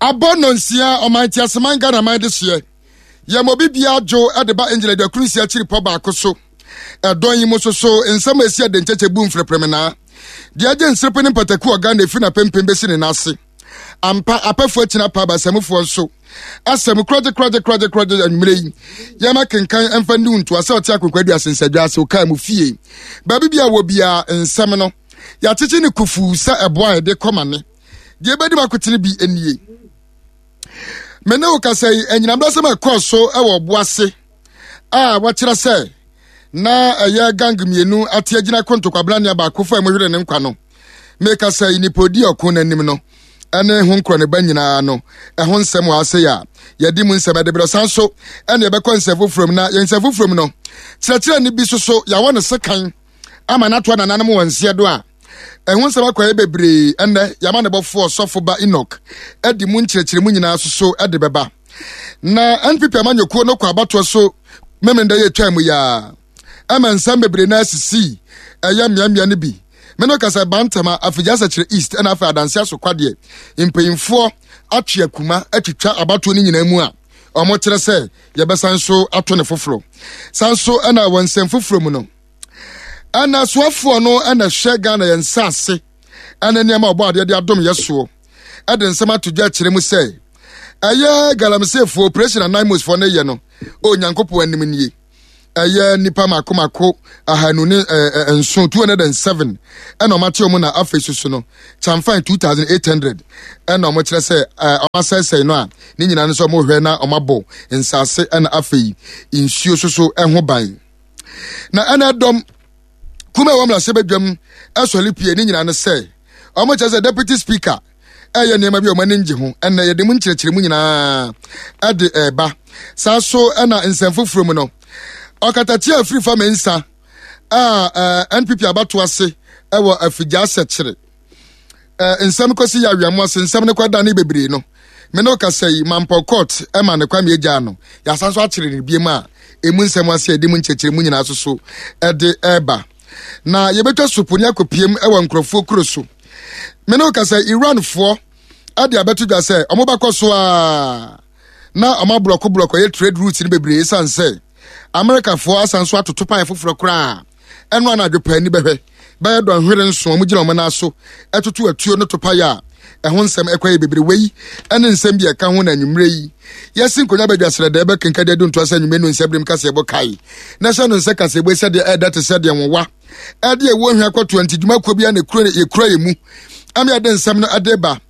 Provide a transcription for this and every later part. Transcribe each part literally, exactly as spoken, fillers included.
Abɔ nnɔnsia, ɔman teaseman Ghana man de hyeɛ. Yɛma obi biara dwo de ba Angel aduakron nsia akyiri pɔ baako so. Ɛdɔn yi mu so so nsɛm a ɛsi adenkyɛkyɛ bu mfrɛprɛmenaa. Deɛ agye nserepe ne mpataku wɔ Ghana ɛfiri n'apempem bɛsi ne nan ase. Ampa, apɛfoɔ akyina pa abasamufoɔ nso. Asɛm korɔgye korɔgye korɔgye korɔgye anwummerɛ yi. Yɛma kenkan ɛmfa nni wo ntoa sɛ ɔte akonkwa aduase nsadwa ase ɔkaa mu fie. Baabi bi a wɔ biara nsɛm no yɛakyekye ne kufuu sɛ ɛboa a yɛde kɔ ma ne. Deɛ ɛbɛdi mu akotene bi nie. Me ne wo kasa yi, anyinam dasɛm a ɛkɔɔ so wɔ ɔbo ase a wɔkyerɛ sɛ na ɛyɛ gang mmienu ate agyina ko ntɔkwabena baako fa mu hwere ne nkwa no. Mekasa yi, nipa odi ɔko n'anim no ɛne ho nkorɔ ne ba nyinaa no ɛho nsɛm wɔ ase a yɛde mu nsɛm ɛde berɛ san so ɛne ɛbɛkɔ nsɛm foforɔ mu. Na yɛn nsɛm foforɔ mu no, kyerɛkyerɛ ne bi soso yɛawɔ ne sekan ama n'atoa nananom wɔ nseɛ do a ɛho nsɛm akɔyɛ bebree. Ɛnɛ yɛama ne bɔfoɔ ɔsɔfo ba Enoch ɛde mu nkyerɛkyerɛ mu nyinaa soso ɛde bɛba. Na N P P amanyɔkuo no kɔ abatoɔ so Memenda yɛ twa mu yaa ɛma nsɛm bebree na asisi ɛyɛ mmeammea no bi. Me no kasa Bantama, Afigya Sɛkyerɛ East ɛna afei Adanse Asokwadeɛ mpanyinfoɔ atwe akuma atwitwa abatoɔ no nyinaa mu a wɔn kyerɛ sɛ yɛbɛsan so ato ne foforɔ san so. Ɛna wɔ nsɛm foforɔ mu no, ɛna soafoɔ no ɛna hwɛ Ghana yɛn nsa ase ɛne nneɛma a ɔbɔ adeɛ de adom yɛ soɔ ɛde nsɛm ato dwa akyerɛ mu sɛ ɛyɛ galamseyfoɔ operation a NAIMOSfoɔ no yɛ no, Onyankopɔn anim nie, ɛyɛ nipa mako mako ahanu ne ɛɛ nson, two hundred and seven, ɛna ɔmo ate ɔmo. Na afei soso no kyamfan two thousand eight hundred ɛna ɔmo kyerɛ sɛ ɛɛ ɔmo asɛesɛe no a ne nyinaa no nso ɔmo hwɛ na ɔmo abɔ nsaase ɛna afei nsuo soso ɛho ban. Na ɛna ɛdɔm kuma ɛwɔ mmarahyɛ badwam ɛsɔre pie ne nyinaa no sɛ ɔmo kyerɛ sɛ Deputy Speaker ɛyɛ nneɛma bi a ɔmo ani ngye ho. Ɛnna yɛde mu nkyerɛkyerɛ mu nyinaa ɛde ɛɛba saa so. Ɛna nsɛm foforɔ mu no, ɔkatakyie afiri fa mensa a ɛɛ N P P abato ase ɛwɔ Afigya Asɛkyerɛ ɛɛ nsɛm kɔsi yɛ awiamu ase nsɛm no kɔ ne bebree no, me ne kasa yi, Mampɔ court ɛma ne kwame agya no yɛasan so akyerɛ ne biem a emu nsɛm ase a yɛde mu nkyerɛkyerɛ mu nyinaa so so ɛde ɛɛba. Na yɛbɛtwa sopo ne akɔpiem ɛwɔ nkurɔfoɔ kuro so. Me ne kasa, Iranfoɔ ɛde abɛto dwa sɛ ɔmo bɛkɔ so a na ɔmo aborɔko borɔko ɛyɛ trade routes no bebree esan sɛ Amerikafoɔ asan so atoto pan foforɔ koraa. Ɛno anadwo paa ani bɛhwɛ bɛyɛ dɔnhwere nson ɔmo gyina ɔmo nan so ɛtoto atuo no topa yɛ a ɛho nsɛm ɛkɔ yɛ bebree. Wei ɛne nsɛm bi ɛka ho na anwummerɛ yi yɛsi nkonnwa badwa srɛdɛ bɛkenka de adu ntoa sɛ anwummerɛ no nsɛm kaseɛ bɔ kae na hyɛ no nsɛ kaseɛbɔ sɛdeɛ ɛda te sɛdeɛ nwowa ɛde ɛwɔ hwɛ akɔtoa nti dwumakuo bi a na yɛkura yɛ mu ama yɛde nsɛm no ɛde ba.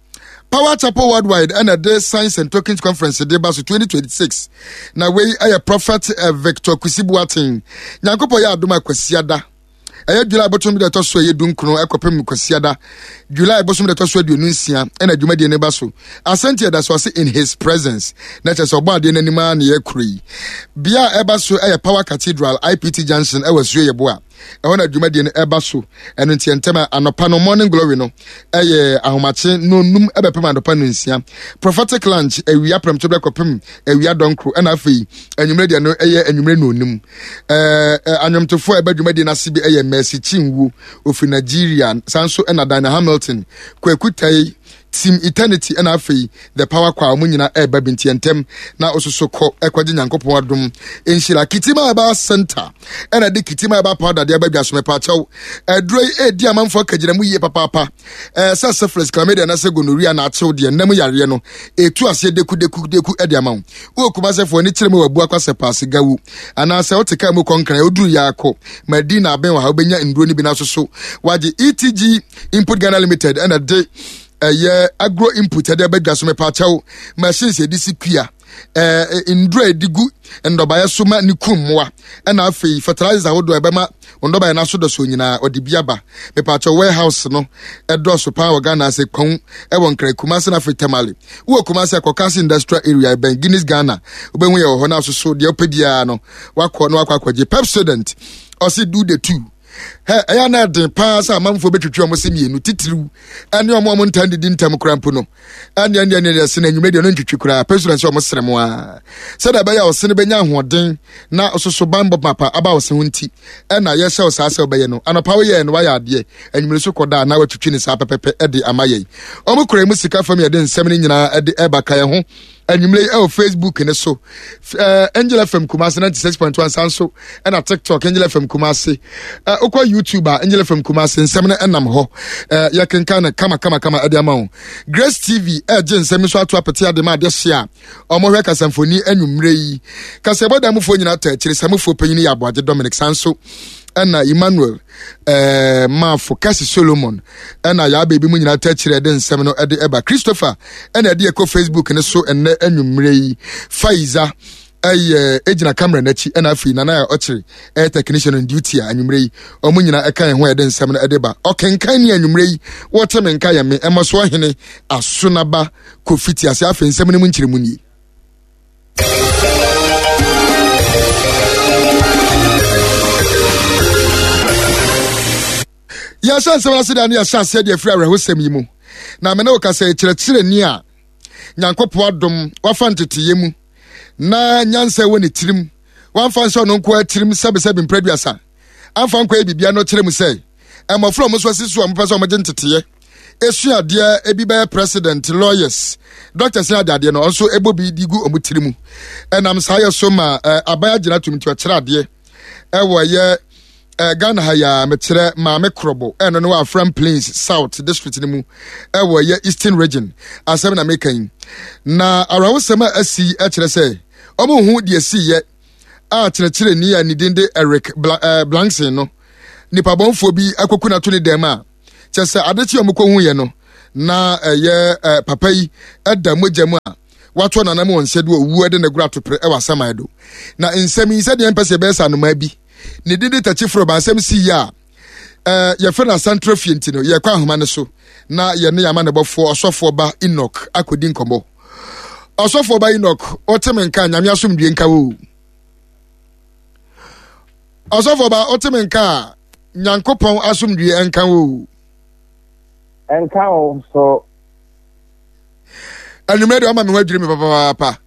Power Chapel Worldwide ɛna de Science and Tokens Conference de ba so twenty twenty-six. Na wei ɛyɛ Prophet uh, Victor Kusi Boateng. Nyankopɔn yɛ adom a, Kwasiada ɛyɛ July bosom de ɛtɔ so ɛyɛ dunkron ɛkɔpem Kwasiada July bosom de ɛtɔ so aduonu nsia ɛna dwumadie no ba so. Asɛnti ɛda so ase "In His Presence" na kyerɛ sɛ ɔbɔ adeɛ n'anim a ne yɛ kuro yi bea a ɛba so ɛyɛ Power Cathedral, I P T Junction, ɛwɔ Asuo Yɛboa. Ɛhɔ na dwumadie no ɛba so. Ɛno nti ntɛm a anɔpa no morning glory no ɛyɛ ahomakye no num ɛbɛpem anɔpa no nsia, prophetic lunch awia prɛmto bɛ kɔpem awia dɔnkoro, ɛna afei anwummerɛ deɛ no ɛyɛ anwummerɛ no onum. ɛɛ anwomtofoɔ a ɛbɛ dwumadie no ase bi ɛyɛ Mercy Chinwo ofiri Nigeria, san so ɛna Daniel Hamilton, Kwaku Tai, Team Eternity, ɛna afei The Power Choir. Wɔn nyinaa ɛreba bi nti ntɛm na ososo kɔ ɛkɔgye Nyankopɔn adom nhyira. Kitima Herbal Center ɛna de Kitima Herbal Powder de aba dwa so. Mepaakyɛw, aduro yi edi amanfoɔ akagyina mu yie papaapa. ɛɛ sɛ syphilis, chlamydia na sɛ gonorrhea na akyew deɛ nnam yareɛ no etu aseɛ deku deku deku ɛde ama wo. Wɔ Kumasɛfoɔ ani kyerɛ mu wɔ Abu Akwasɛ Paase Gawu anaasɛ wote kaa mu kɔnkran oduru yɛ akɔ Madina abɛn wɔ ha, wobɛnya nduro no bi na soso wagye. E T G Input Ghana Limited ɛna de ɛyɛ agro input ɛde abɛdwa so. Mepaakyɛw, machines yɛde si kua, ɛɛ nduro a yɛde gu ndɔbaeɛ so ma ne kum mmoa, ɛna afei fertilizer ahodoɔ a ɛbɛma ndɔbaeɛ no aso dɔso nyinaa ɔde bi aba. Mepaakyɛw, warehouse no ɛdɔɔso paa wɔ Ghana ase kɔn ɛwɔ Nkran, Kumase na afei Tamale. Wowɔ Kumase akɔkase Industrial Area, ɛbɛn Guinness Ghana, wobɛhu yɛ wɔ hɔ no asoso deɛ wopɛ biara no wakɔ na wakɔ akɔgye. Pepsodent ɔse, "Do the two." Hɛ, ɛyɛ na ɛden paa sɛ amanfoɔ bɛtwitwi ɔmo se mmienu titiriw ɛne ɔmo ɔmo ntan didi ntam koraa mpo no. Ɛne ɛne ɛne ɛse no anwummerɛ deɛ ɔno ntwitwi koraa pɛ sura sɛ ɔmo sere mo a sɛdeɛ ɛbɛyɛ a ɔse no bɛnya ahoɔden na ɔsoso banbɔ mapa aba ɔse ho nti ɛna yɛhyɛ wo saa sɛ wobɛyɛ no. Anɔpa woyɛɛ no wayɛ adeɛ, anwummerɛ so kɔda a na watwitwi ne saa pɛpɛpɛ ɛde ama yɛn. Ɔmo kura mu sika fam yɛde nsɛm no nyinaa ɛde ɛba ka yɛn ho anwummerɛ yi ɛwɔ Facebook ne so, uh, Angel F M Kumase ninety-six point one, san so ɛna TikTok Angel F M Kumase, uh, wokɔ YouTube a Angel F M Kumase nsɛm no ɛnam hɔ, uh, yɛkenkan no kama kama kama ɛde ama wo. Grace T V ɛgye nsɛm nso ato apete ade ma adeɛ hye a ɔmohwɛ kasamfoni anwummerɛ yi. Kasɛbɔ da mufoɔ nyinaa ta akyire samufoɔ panyin yɛ Aboagye Dominic, san so ɛna Emmanuel ɛɛ Maafo Kasi Solomon ɛna yaa beebi mu nyinaa ta akyire ɛde nsɛm no ɛde ɛba. Christopher ɛna ɛde ɛkɔ Facebook ne so ɛnɛ anwummerɛ yi. Faiza ɛyɛ egyina camera n'akyi, ɛna afei Nana a ɔkyerɛ ɛyɛ technician on duty a anwummerɛ yi wɔn nyinaa ɛka yɛn ho a yɛde nsɛm no ɛde ba. Ɔkenkan ne anwummerɛ yi wɔte me nka yɛ me ɛma so ɔhene Asonaba Kofi te ase. Afei nsɛm no mu nkyerɛmu nie. Yɛhyɛ nsɛm ase da ne yɛhyɛ aseɛ deɛ afiri awerɛhosɛm yi mu na me ne wo kasa. Kyerɛkyerɛni a Nyankopɔn adom wafa nteteyɛ mu na nyansa wɔ ne tirim, wamfa nhyɛ ɔno nko atirim sɛbesɛbe mprɛduasa amfa nkɔ yɛ biribia no, kyerɛ mu sɛ mmɔfra a ɔmo nso asi so a ɔmopɛ sɛ ɔmogye nteteyɛ esua adeɛ, ebi bɛyɛ president, lawyers, doctors ne adeadeɛ no, ɔnso ɛbɔ bi di gu ɔmo tiri mu. Ɛnam saa yɛ so ma ɛɛ aban agyina tum nti ɔkyerɛ adeɛ ɛwɔ ɛyɛ ɛɛ Ghana ha yi a mekyerɛ Maame Korɔbɔ, ɛno no wɔ Afram Plains South District no mu ɛwɔ ɛyɛ Eastern Region. Asɛm na meka yi na awerɛhosɛm a asi ɛkyerɛ sɛ ɔmo ho deɛ si yɛ a kyerɛkyerɛni a ne din de Eric Bla ɛɛ Blankson no, nipa bɔnfoɔ bi akɔku n'ato ne dɛm a kyɛ sɛ adekye a ɔmo kɔhu yɛ no na ɛyɛ ɛɛ papa yi ɛda mogya mu a wato nanam wɔn nsa do owu ɛde ne goro atopere ɛwɔ asaman do. Na nsɛm yi sɛdeɛ mpɛ sɛ ɛbɛyɛ sɛ anomaa bi ne din de takyi foro ba asɛm si yi a ɛɛ yɛfrɛ no Asantra Fie nti no, yɛkɔ ahoma no so na yɛne yɛama ne bɔfoɔ Ɔsɔfoɔ Ba Enoch akɔdi nkɔmmɔ. Ɔsɔfoɔ Ba Enoch, wote me nka? Nyame asomdue nka wo. Ɔsɔfoɔ Ba, wote me nka a, Nyankopɔn asomdue nka wo. Nka wo so. Anwummerɛ deɛ ɔma me ho adwiri me papaapa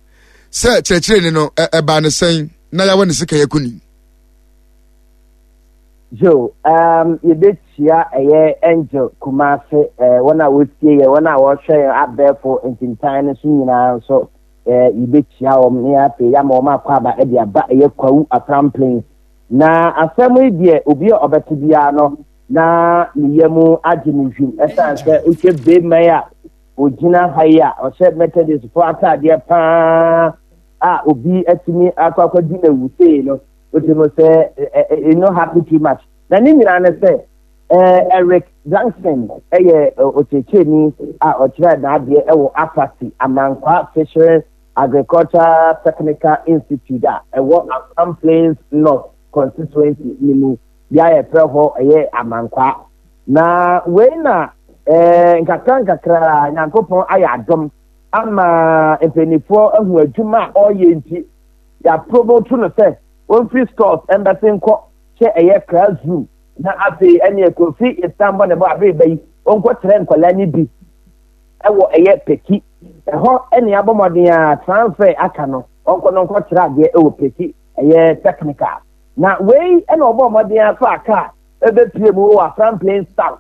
sɛ kyerɛkyerɛni no ɛbaa ne sɛn na yɛawɔ ne sika yɛkuni. Jo, um, yɛbɛkyia ɛyɛ Angel Kumase, eh, wɔn a wɔtie yɛ, wɔn a wɔhwɛ yɛn abɛɛfo ntintan no so nyinaa nso, eh, yɛbɛkyia wɔn ne afei yɛama wɔn akɔ aba de aba ɛyɛ Kwawu Afram Plains. Na asɛm yi deɛ, obi a ɔbɛte biara no na ne yam agye ne hwim, ɛsiane sɛ wohwɛ beema yi a ogyina ha yi a ɔhyɛ Methodist fo ataadeɛ paa a obi atumi akɔ akɔdi na wusee no, wote mu sɛ ɛ no happy too much. Na ne nyinaa ne sɛ Eric Blankson ɛyɛ ɔkyerɛkyerɛni a ɔkyerɛ n'adeɛ ɛwɔ Afati Amankwa Fishery Agriculture Technical Institute a ɛwɔ Afram Plains North Constituency ne mu, bea a yɛfrɛ hɔ ɛyɛ Amankwa. Na wei na ɛɛ nkakra nkakra Nyankopɔn ayɛ adom ama mpanimfoɔ ahu adwuma a ɔreyɛ nti yɛapromote no sɛ wɔmfiri stores ɛmbɛse nkɔ hyɛ ɛyɛ classroom. Na afei ɛne Kofi Istanbul ne bɔ abere ba yi ɔnkɔkyerɛ nkwadaa no bi ɛwɔ ɛyɛ Peki ɛhɔ, ɛne abɔ mmɔden a transfer aka no ɔnkɔ no nkɔkyerɛ adeɛ ɛwɔ Peki ɛyɛ technical. Na wei ɛna ɔbɔ mmɔden afa aka ɛbɛpie mu wɔ Afram Plains South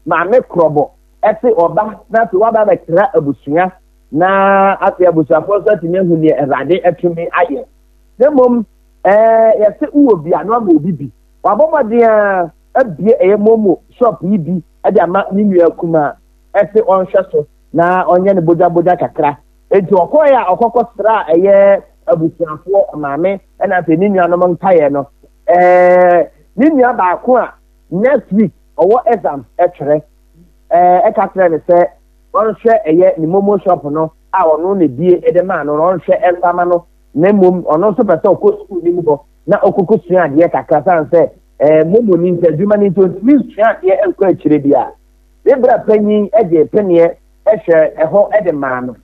Maame Korɔbɔ ɛte ɔba na afei waba abɛkyerɛ abusua, na afei abusuafoɔ nso atumi ahu deɛ Awurade atumi ayɛ. Na mmom ɛɛ yɛsɛ wowɔ bi a na wama obi bi. Wabɔ mmɔden a abie ɛyɛ momo shop yi bi ɛde ama ne nua kumaa ɛsɛ ɔnhwɛ so na ɔnyɛ ne bogyabogya kakra. Eti ɔkɔɛ a ɔkɔkɔ sra ɛyɛ abusuafoɔ maame ɛna afei ne nuanom nkaeɛ no, ɛɛ ne nua baako a next week ɔwɔ exams ɛtwerɛ, ɛɛ ɛka kyerɛ ne sɛ ɔnhwɛ ɛyɛ ne momo shop no a ɔno na ebie ɛde maa no na ɔnhwɛ ɛnfama no, na mmom ɔno nso pɛ sɛ ɔkɔ sukuu ne mu hɔ na ɔkɔkɔ sua adeɛ kakra, san sɛ ɛɛ momo ni nti adwuma ni nti ɔntumi nsua adeɛ nkɔ akyire bi a ne bra panyin ɛde peneɛ ɛhwɛ ɛhɔ ɛde maa no.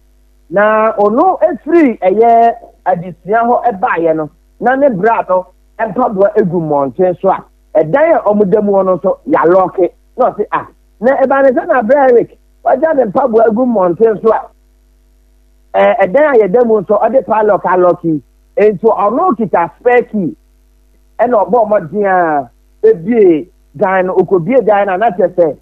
Na ɔno efiri ɛyɛ adesua hɔ ɛbaayɛ no na ne bra no mpaboa egu mmɔnten so a Ɛdan a ɔmo da mu hɔ no nso yɛalock. Na ɔse, ah, na ɛba ne sɛ na abrɛ Eric wagya ne mpaboa agu mmɔnten so a, ɛɛ ɛdan a yɛda mu nso ɔde padlock alock yi. Nti ɔno kita spare key, ɛna ɔbɔ ɔmɔden a ebie dan no. Okobie dan no a, na kyerɛ sɛ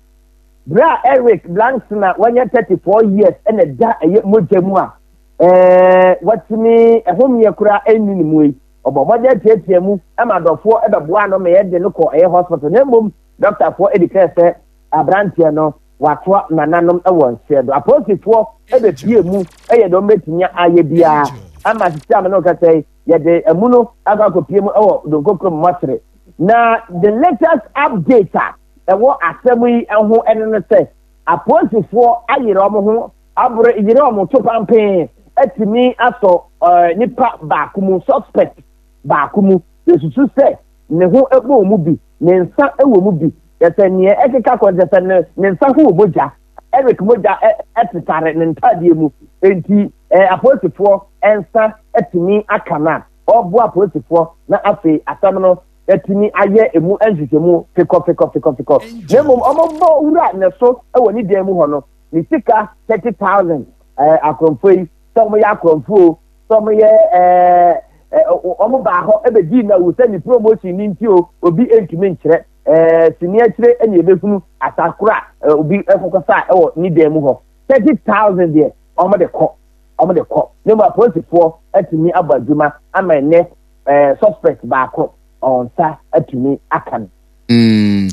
bere a Eric Blankson a wɔnyɛ thirty four years ɛna da ɛyɛ mogya mu a ɛɛ wɔtumi ɛhomeɛ koraa ɛnni ne mu yi, ɔbɔ mmɔden atiatia mu ɛma adɔfoɔ ɛbɛboa no ma yɛde no kɔ ɛyɛ hospital. Na mmom dɔktafoɔ ɛdi kɛ sɛ aberanteɛ no watoa nananom ɛwɔ nseɛ do. Apolisifoɔ ɛbɛpie mu ɛyɛ deɛ wɔbɛtumi ayɛ biara ama sisi ame no kasa yi, yɛde ɛmu no akɔ akɔpie mu ɛwɔ Donkokurom mɔsere. Na the latest update a ɛwɔ asɛm yi ho ɛno no sɛ apolisifoɔ ayerɛ wɔn ho abere yere wɔn to pampee atumi asɔ ɛɛ nipa baako mu, suspect baako mu. Yɛsusu sɛ ne ho ɛbɔ wɔn mu bi, ne nsa ɛwɔ mu bi. Yɛsɛ nea ɛkeka kɔ kyɛ sɛ ne ne nsa ho wɔ mogya, Eric mogya ɛ ɛtetare ne ntaadeɛ mu. Nti ɛɛ apolisifoɔ nsa atumi aka no a ɔboa apolisifoɔ, na afei asɛm no atumi ayɛ emu nhwehwɛmu fikɔ fikɔ fikɔ fikɔ. Na mmom ɔmobɔ wura ne so wɔ ne dan mu hɔ no, ne sika thirty thousand. ɛɛ akorɔmfoɔ yi, sɛ wɔn yɛ akorɔmfoɔ, sɛ wɔn yɛ ɛɛ ɛɛ wɔn baa hɔ ɛbɛdi na wu sɛ ne promotion ne nti o, obi ntumi nkyerɛ. ɛɛ sini akyire ɛna ebɛhunu asakoro a obi ɛkɔkɔ sa ɛwɔ ne dan mu hɔ. Thirty thousand deɛ, wɔn de kɔ, wɔn de kɔ. Ne mu apolisifoɔ atumi abɔ adwuma ama ɛnɛ ɛɛ suspect baako ɔnsa atumi aka no. Mm.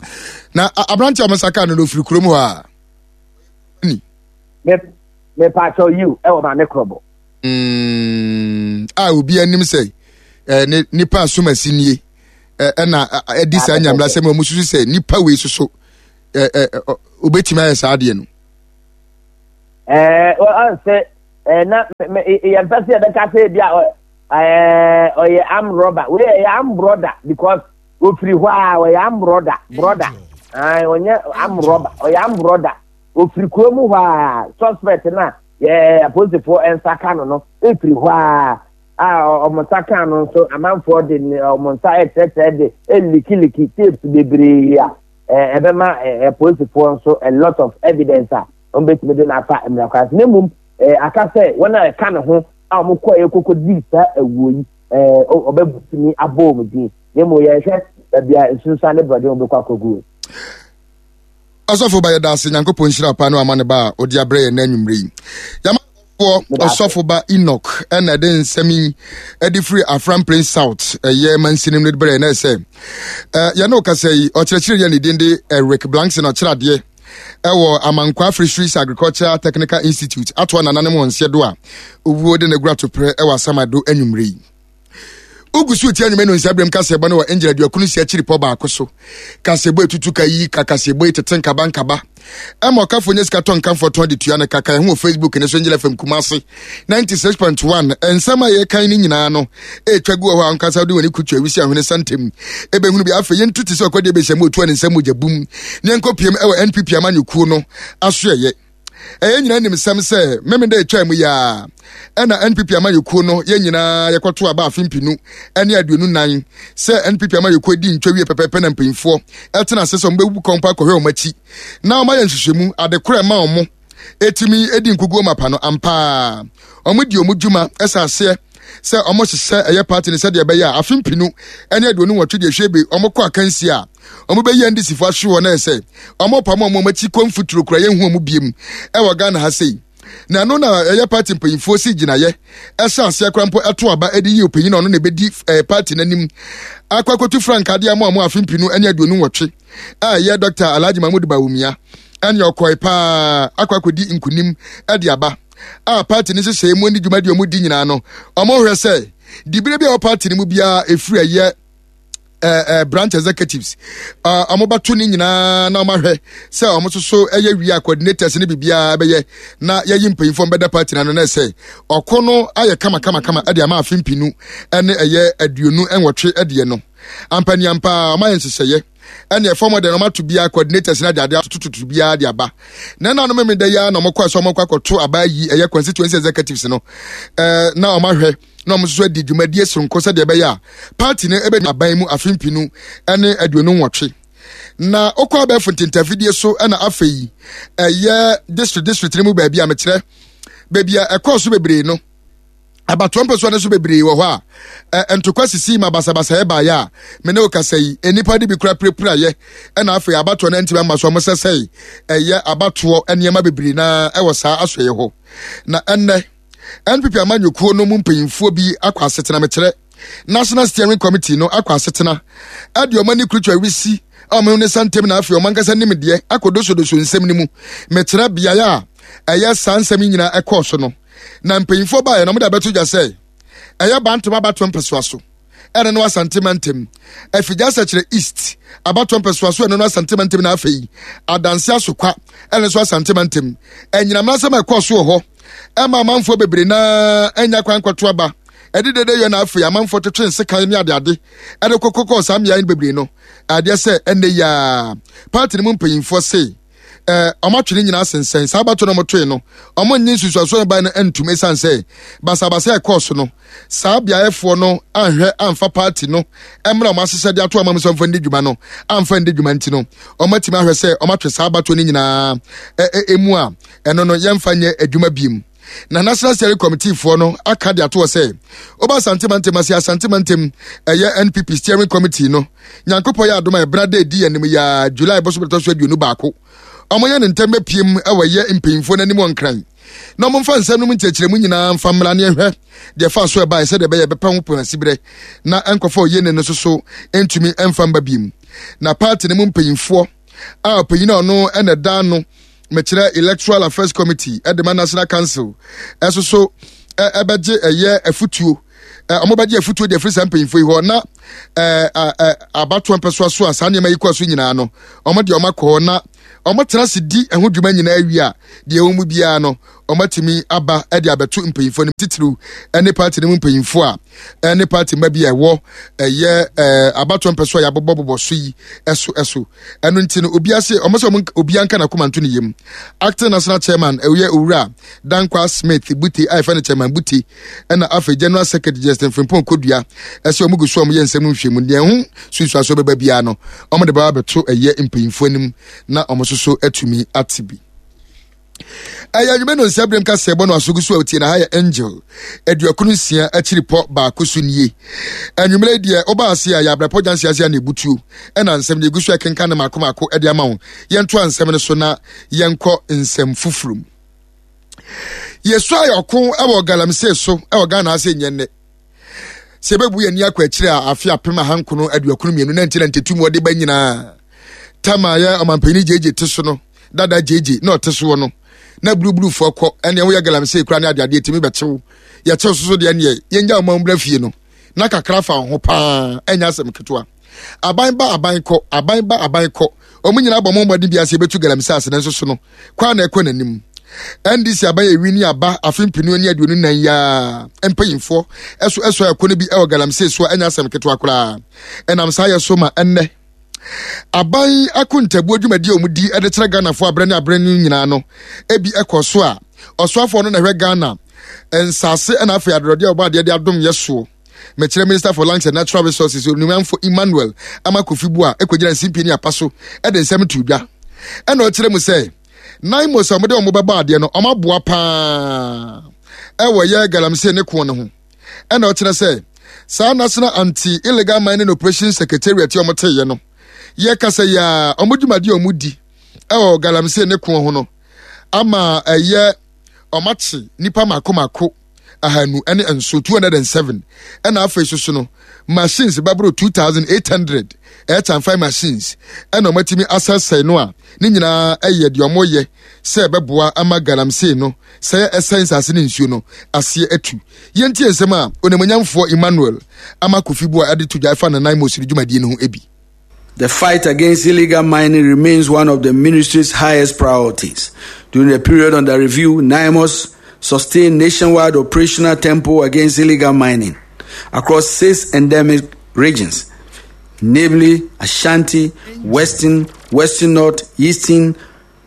Na aberante a ɔmo nsa kaa no no ofiri kurom hɔ a? Me mepaakyɛw, yiw, ɛwɔ Maame Korɔbɔ. Mm. A obi anim sɛ eh, ne nipa asomasi nie, ɛna ɛdi saa nyamla sɛ ɔmo susu sɛ nipa wei soso obetumi ayɛ saa adeɛ no. Ɛɛ ɔn sɛ ɛɛ na yɛn pɛ sɛ yɛbɛka sɛ ebi a ɛɛ ɔyɛ armed robber. Wei ɛyɛ armed brother because ofiri hɔ a ɔyɛ armed brother brother ɛɛ ɔnyɛ armed robber, ɔyɛ armed brother. Ofiri kurom hɔ a suspect na yɛ apolisifoɔ nsa ka no no efiri hɔ a a ɔmo nsa ka no nso, amanfoɔ de ɔmo nsa ɛkyerɛkyerɛ de eleak tapes bebree a ɛɛ ɛbɛma ɛɛ apolisifoɔ nso a lot of evidence a wɔn bɛtumi de n'afa mmira kwan so. Na mmom ɛɛ aka sɛ wɔn a ɛka ne ho a wɔn kɔ ɛkoko di saa awuo yi, ɛɛ ɔbɛtumi abɔ wɔn din. Na mmom yɛhwɛ baabi a nsunsuan ne borɔde wɔn bɛkɔ akɔgu. Ɔsɔfo ba, yɛda ase. Nyankopɔn nhyira pa no ama ne ba a ɔde abrɛ yɛn n'anwummerɛ yi. Yɛamafoɔ Ɔsɔfo ba Enoch ɛna ɛde nsɛm yi ɛde firi Afram Plain South ɛyɛ mansinim no de brɛ yɛn. Na ɛsɛ yɛne wo kasa yi, ɔkyerɛkyerɛ yɛ ne din de Eric Blankson, ɔkyerɛ adeɛ ɛwɔ Amankwa Fisheries Agriculture Technical Institute, atoa nananom wɔn nseɛ do a owuo de ne gura toprɛ ɛwɔ Asamado anwummerɛ yi. Wogu so tie anwuma no nsa berɛm kaseɛbɔ no wɔ Angel aduakunu si akyiri pɔ baako so. Kaseɛbɔ etutu ka yi ka kaseɛbɔ yi tete nkaba nkaba ɛma ɔkafo nyɛ sika tɔ nkamfoɔ tɔn de tua no kaka. Ɛho wɔ Facebook ne so, Angel F M Kumase ninety-six point one. Nsɛm a yɛkan no nyinaa no ɛtwa gu wɔ hɔ a ankasa wode w'ani kutu awisi ahwene santam ɛbɛhunu bi. Afei yɛntu te sɛ ɔkɔdeɛ bɛhyɛ mu ɔtua ne nsɛm mogya bum ne yɛnkɔpiem ɛwɔ N P P amanyɔkuo no asoɛyɛ. Ɛyɛ nyinaa nim sɛm sɛ Memenda ɛtwa mu yaa ɛna N P P amayɛkuo no, yɛn nyinaa yɛkɔto aba afe mpinu ne aduonu nan sɛ N P P amayɛkuo di ntwa wie pɛpɛpɛ. Na mpanyinfoɔ ɛtena ase sɛ wɔbɛbu kɔmpa akɔhwɛ wɔn akyi na wɔayɛ nhwehwɛmu adekorɔ ɛma wɔn ɛtumi edi nkuguo mapa no. Ampaa wɔn di wɔn dwuma ɛsɛ aseɛ sɛ wɔn hyehyɛ ɛyɛ party no sɛdeɛ ɛbɛyɛ a afe mpinu ne aduonu nwɔtwe deɛ hwɛ bi wɔn kɔ akansi a wɔn bɛyi N D C fo ahwe hɔ na ɛsɛ wɔn pam wɔn wɔn akyi kɔ mfuturo kura yɛn hu wɔn biem ɛwɔ Ghana ha sei. Na ɛno na ɛyɛ party mpanyinfoɔ si gyinaeɛ ɛhyɛ aseɛ kora mpo ɛto aba ɛde yi ɔpanyin a ɔno na ɛbɛdi ɛɛ party n'anim akɔ akɔtu frankaa de ama wɔn afe mpinu ne aduonu nwɔtwe a ɛyɛ Doctor Alhaji Mahmood Bawumia. Ɛne ɔkɔe paa akɔ akɔdi nkunim ɛde aba a party no nhyehyɛe mu ne dwumadi a wɔn di nyinaa no, wɔn hwɛ sɛ dibere bi a ɛwɔ party no mu biara efiri ɛyɛ ɛɛ ɛɛ branch executives ɔmo bɛto ne nyinaa na ɔmo ahwɛ sɛ ɔmo nso so ɛyɛ wia coordinators ne biribiara bɛyɛ na yɛyi mpanyinfoɔ bɛda party na no na ɛsɛ ɔko no ayɛ kama kama kama ɛde ama afe mpinu ɛne ɛyɛ aduonu nwɔtwe ɛdeɛ no. Ampaniampa ɔmo ayɛ nhyehyɛeɛ ɛne ɛfɔm deɛ ɔmo ato biara coordinators na de ade atototo biara de aba. Na ɛna no mímí da yi ara na ɔmo kɔ ɛsɛ ɔmo kɔ akɔto aba yi ɛyɛ constituency executives no ɛɛ na ɔmo ahwɛ. Na wɔn nso adi dwumadie soronko sɛdeɛ ɛbɛyɛ a party no ɛbɛdi aban mu afe mpinu ne aduonu nwɔtwe. Na okɔ abɛɛfo ntentafidie so, ɛna afei ɛyɛ district district no mu baabi a mekyerɛ baabi a ɛkɔɔ so bebree no, abatoɔ mpɛsoa no so bebree wɔ hɔ a ntokwa sisi ma basabasa ɛbaeɛ a me ne wo kasa yi, nnipa de bi kura pirapirayɛ. Ɛna afei abatoɔ no ntumi ama so, ɔmo sɛsɛe ɛyɛ abatoɔ nneɛma bebree na ɛwɔ saa asɔeɛ hɔ. Na ɛnnɛ N P P amanyɔkuo no mu mpanyinfoɔ bi akɔ asetena, mekyerɛ National Steering Committee no, akɔ asetena ɛde ɔmo ani kurutu awisi a ɔmo ne santam, na afei ɔmo ankasa nim deɛ akɔdosodoso nsɛm no mu, mekyerɛ beaeɛ a ɛyɛ saa nsɛm yi nyinaa ɛkɔɔ so no. Na mpanyinfoɔ baeɛ na ɔmo de abɛto dwa sɛ ɛyɛ Bantom abatoɔ mpɛsoa so, ɛne no Asante Mantam, Afigya Sɛkyerɛ East abatoɔ mpɛsoa so, ɛno no Asante Mantam, na afei Adanse Asokwa, ɛne nso Asante Mantam. Ɛnyinam asɛm a ɛkɔɔ so wɔ hɔ ɛma amanfoɔ bebree naa ɛnya kwan kɔto aba ɛde dede yɛ, na afei amanfoɔ twetwe nsekan ne adeade ɛde kɔkɔkɔ saa mmea yi bebree no adeɛ sɛ ɛnɛ yaa party no mu mpanyinfoɔ se ɛɛ ɔmo atwe ne nyinaa sensɛn saa abato no. Ɔmo toe no, ɔmo nye nsusuaso no ban no ntum, esan sɛ basabasa ɛkɔɔ so no, saa beaeɛfoɔ no anhwɛ amfa party no mmerɛ ɔmo ahyehyɛ de ato ama mo sɛ ɔmfa ndi dwuma no amfa ndi dwuma. Nti no ɔmo atumi ahwɛ sɛ ɔmo atwe saa abato no nyinaa ɛ emu a ɛno no yɛmfa nyɛ adwuma biem. Na National Steering Committee foɔ no aka de ato hɔ sɛ woba Asante Mantam ase, Asante Mantam ɛyɛ N P P Steering Committee no, Nyankopɔn yɛ adom a, ɛbra da edi anim yɛ July bɔsɔ bɛtɔ so aduonu baako, ɔmo yɛ ne ntɛm bɛpiem ɛwɔ yɛ mpanyinfoɔ n'anim wɔ Nkran na ɔmo mfa nsɛm no mu nkyerɛkyerɛmu nyinaa mfa mmra ne ɛhwɛ deɛ fa so ɛbaeɛ, sɛdeɛ ɛbɛyɛ bɛpɛ ho pɔn asiberɛ na nkɔfa oyie ne no nso so ntumi mfa mba biem. Na party no mu mpanyinfoɔ a ɔpanyin a ɔno ɛna ɛda no, mekyerɛ Electoral Affairs Committee ɛde ma National Council, ɛso so ɛbɛgye ɛyɛ afutuo, ɔmo bɛgye afutuo de afiri saa mpanyinfoɔ yi hɔ. Na ɛɛ ɛɛ abatoɔ mpɛsoa so a saa nneɛma yi kɔ so nyinaa no, ɔmo deɛ ɔmo akɔ hɔ na ɔmo tena ase di ɛho dwuma nyinaa wie a, deɛ ɛwɔ mu biara no, ɔmo atumi aba ɛde abɛto mpanyinfoɔ no, titiriw ɛne party no mu mpanyinfoɔ a ɛne party mma bi a ɛwɔ ɛyɛ ɛɛ abatoɔ mpɛsoa a yɛabobɔbobɔ so yi ɛso ɛso Ɛno nti no, obiara se ɔmo sɛ ɔmo obiara nka n'akoma nto ne yam. Acting national chairman ɛyɛ Owura Dankwa Smith Bute a yɛfɛ no Chairman Bute, ɛna afei general secretary Justin Frimpong Kodua, ɛsɛ ɔmo gu so a ɔmo yɛ nsɛm no nhwɛmu. Deɛ ɛho sunsuaso bɛba biara no, ɔmo de bɛba abɛto ɛyɛ mpanyinfoɔ anim na ɔmo nso so atumi ate bi. Ɛyɛ anwumɛ no nsia berɛm kasɛɛ bɔ no asogu so a otie na ha yɛ Angel aduokron nsia akyiri pɔ baako so nie. Anwummerɛ deɛ woba ase a yɛ abrɛpɔ gyanse ase a na ɛbutuo, ɛna nsɛm deɛ ɛgu so ɛkenka ne maako maako de ama wo. Yɛntoa nsɛm no so na yɛnkɔ nsɛm foforɔ mu. Yɛsu ayɛ ɔko wɔ galamsey so wɔ Ghana ase nyɛ nnɛ. Sɛ yɛbɛbu yɛn ani akɔ akyire a, afe apem ahankron aduokron mmienu na nti na ntetu mu ɔde ba nyinaa tama yɛ ɔmanpanyin Gyegye te so no dada, Gyegye na ɔte soɔ no, na buruburufoɔ kɔ ɛnea woyɛ galamsey kora ne adeadeɛ tumi bɛkyew. Yɛkyew soso deɛ, neɛ yɛngya ɔman mbra fie no na kakra fa ho paa, ɛnyɛ asɛm ketewa. Aban ba, aban kɔ, aban ba, aban kɔ, wɔn nyinaa bɔ wɔn mmɔden bi ase yɛbɛtu galamsey ase, nanso so no kwan na ɛkɔ n'anim. N D C aban ewi ni aba afe mpenu ne aduonu nan yaa mpanyinfoɔ ɛso ɛso ɛkɔ no bi ɛwɔ galamsey so a ɛnyɛ asɛm ketewa koraa. Ɛnam saa yɛ so ma ɛnnɛ aban akontabuo dwumadi a wɔn di de kyerɛ Ghanafoɔ abrɛ ne abrɛ no nyinaa no, ebi ɛkɔ so a ɔsoafoɔ no na ɛhwɛ Ghana nsase ɛna afei adorɔdeɛ a ɔbɔ adeɛ de adom yɛ soɔ, mekyerɛ Minister for Lands and Natural Resources, Onimamfo Emmanuel Armah-Kofi Buah, ɛkɔgyina nsimpie ne apa so ɛde nsɛm to dwa, ɛna ɔkyerɛ mu sɛ NAIMOS a wɔde wɔn bɛbɔ adeɛ no, wɔn aboa paa ɛwɔ yɛ galamsey ne ko no ho. Ɛna ɔkyerɛ sɛ saa National Anti Illegal Mining Operation Secretariat a wɔn teeɛ no, yɛkasa yi a, wɔn dwumadi a wɔn di ɛwɔ galamsey ne ko ho no ama ɛyɛ wɔn akye nipa mako mako ahanu ne nso, two hundred and seven, ɛna afei soso no machines bɛboro two thousand eight hundred, ɛyɛ changfan machines, ɛna wɔn atumi asɛsɛe no a ne nyinaa ɛyɛ deɛ wɔn yɛ sɛ ɛbɛboa ama galamsey no sɛ ɛsɛn nsase ne nsuo no aseɛ atu. Yɛntie nsɛm a onimonyamfoɔ Emmanuel Armah-Kofi Buah ɛde to dwa ɛfa ne NAIMOS dwumadie no ho bi. The fight against illegal mining remains one of the ministry's highest priorities. During the period under review, NAIMOS sustained nationwide operational tempo against illegal mining across six endemic regions, namely Ashanti, Western, Western North, Eastern,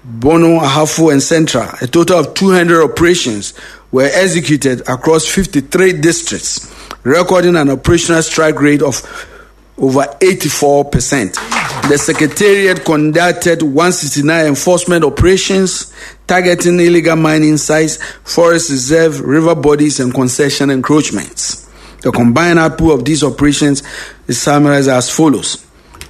Bono, Ahafo, and Central. A total of two hundred operations were executed across fifty-three districts, recording an operational strike rate of over eighty-four percent. The Secretariat conducted one sixty-nine enforcement operations targeting illegal mining sites, forest reserve, river bodies, and concession encroachments. The combined output of these operations is summarized as follows.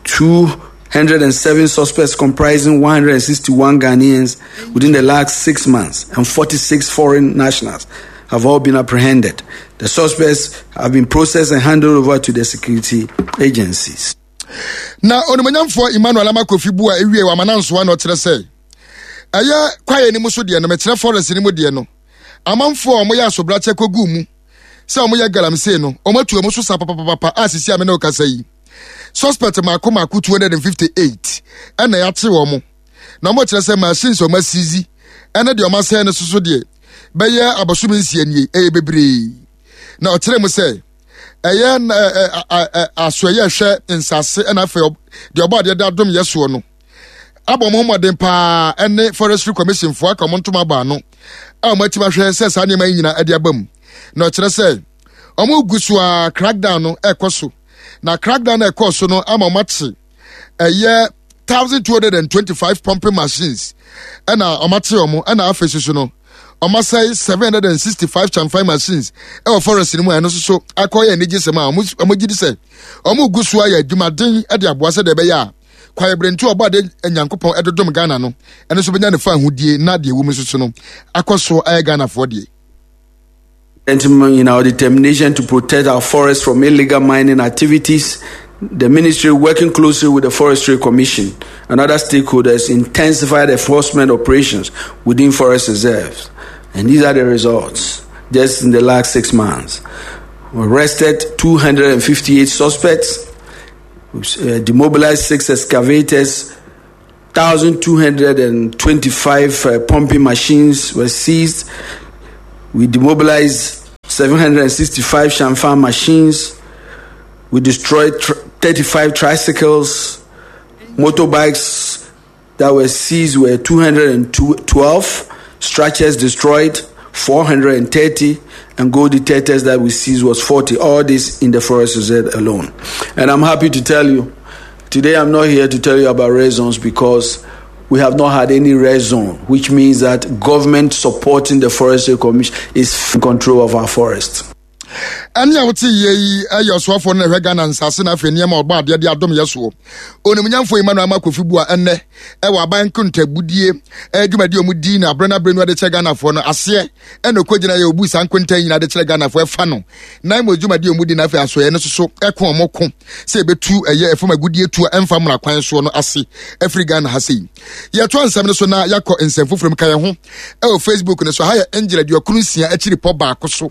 two hundred and seven suspects comprising one hundred and sixty-one Ghanaians within the last six months and forty-six foreign nationals have all been apprehended. The suspects have been processed and handed over to the security agencies. Na onimonyamfoɔ Emmanuel Armah Kofi Buah ewie wɔ amanansoa na ɔkyerɛ sɛ ɛyɛ kwaeɛ no mu so deɛ no, mekyerɛ forest no mu deɛ no, amanfoɔ a wɔyɛ asobrakyɛ kɔgu mu sɛ wɔyɛ galamsey no, wɔatu wɔn so sa papapapa a sisi a me ne wo kasa yi. Suspect mako mako two hundred and fifty-eight ɛna yɛakye wɔn. Na wɔn kyerɛ sɛ machines a wɔn asizi ɛne deɛ wɔn asɛn no soso deɛ bɛyɛ abosome nsia nie, ɛyɛ bebree. Na ɔkyerɛ mu sɛ ɛyɛ n-, ɛ, ɛ, ɛ, ɛ, asoɛyɛ ɛhwɛ nsase ɛna afei ɔb-, deɛ ɔbɔ adeɛ de adom yɛ soɔ no abɔ wɔn mmɔden paa ɛne Forestry Commission foɔ aka wɔn ntoma abɔ ano a wɔn akyi ahwɛ sɛ saa nneɛma yi nyinaa ɛde aba mu. Na ɔkyerɛ sɛ wɔn gu so a crackdown no ɛkɔ so. Na crackdown no ɛkɔ so no ama wɔn akye ɛyɛ thousand two hundred and twenty-five pumping machines ɛna wɔn akye wɔn, ɛna afei soso no wɔn asɛe seven hundred and sixty-five changfan machines ɛwɔ forest no mu a ɛno nso so akɔyɛ anigye sɛm a wɔn, wɔn gye di sɛ wɔn gu so ayɛ adwumaden de aboa sɛ deɛ ɛbɛyɛ a kwaeɛ berentu a ɔbɔ ade Nyankopɔn ɛdodom Ghana no, ɛno nso bɛnya ne fa ahodie na deɛ ɛwɔ mu nso so no akɔ so ayɛ Ghanafoɔ deɛ. In our determination to protect our forests from illegal mining activities, the ministry, working closely with the Forestry Commission and other stakeholders, intensified enforcement operations within forest reserves. And these are the results. Just in the last six months, we arrested two hundred and fifty-eight suspects, uh, demobilized six excavators, thousand two hundred and twenty-five, uh, pumping machines were seized. We demobilized seven hundred and sixty-five changfan machines. We destroyed tr- thirty-five tricycles. Motorbikes that were seized were two hundred and twelve. Structures destroyed, four hundred and thirty. And gold detectors that we seized was forty. All this in the forest reserve alone. And I'm happy to tell you, today I'm not here to tell you about red zones because we have not had any red zone, which means that government supporting the Forestry Commission is in control of our forest. Ɛne a wote yie yi ɛyɛ ɔsoafoɔ no na ɛhwɛ Ghana nsase na afei nneɛma ɔbɔ adeɛ de adom yɛ soɔ. Onimnyamfoɔ Emmanuel Armah Kofi Buah ɛnnɛ ɛwɔ aban nkontabudie adwumadie a wɔn di na abrɛ na abrɛ no de kyerɛ Ghanafoɔ no aseɛ ɛna ɔkɔgyina yɛ obu saa nkonta nyinaa de kyerɛ Ghanafoɔ ɛfa no. Na mmom dwumadie a wɔn di na afei asoɛ no soso ɛko wɔn ko sɛ ebetu ɛyɛ ɛfam agudie tu a ɛmfa mmara kwan soɔ no ase ɛfiri Ghana ha sei. Yɛto nsɛm no so na yɛakɔ nsɛm foforɔ mu ka yɛn ho ɛwɔ Facebook no so. Ha yɛ Angel aduokron nsia akyiri pɔ baako so.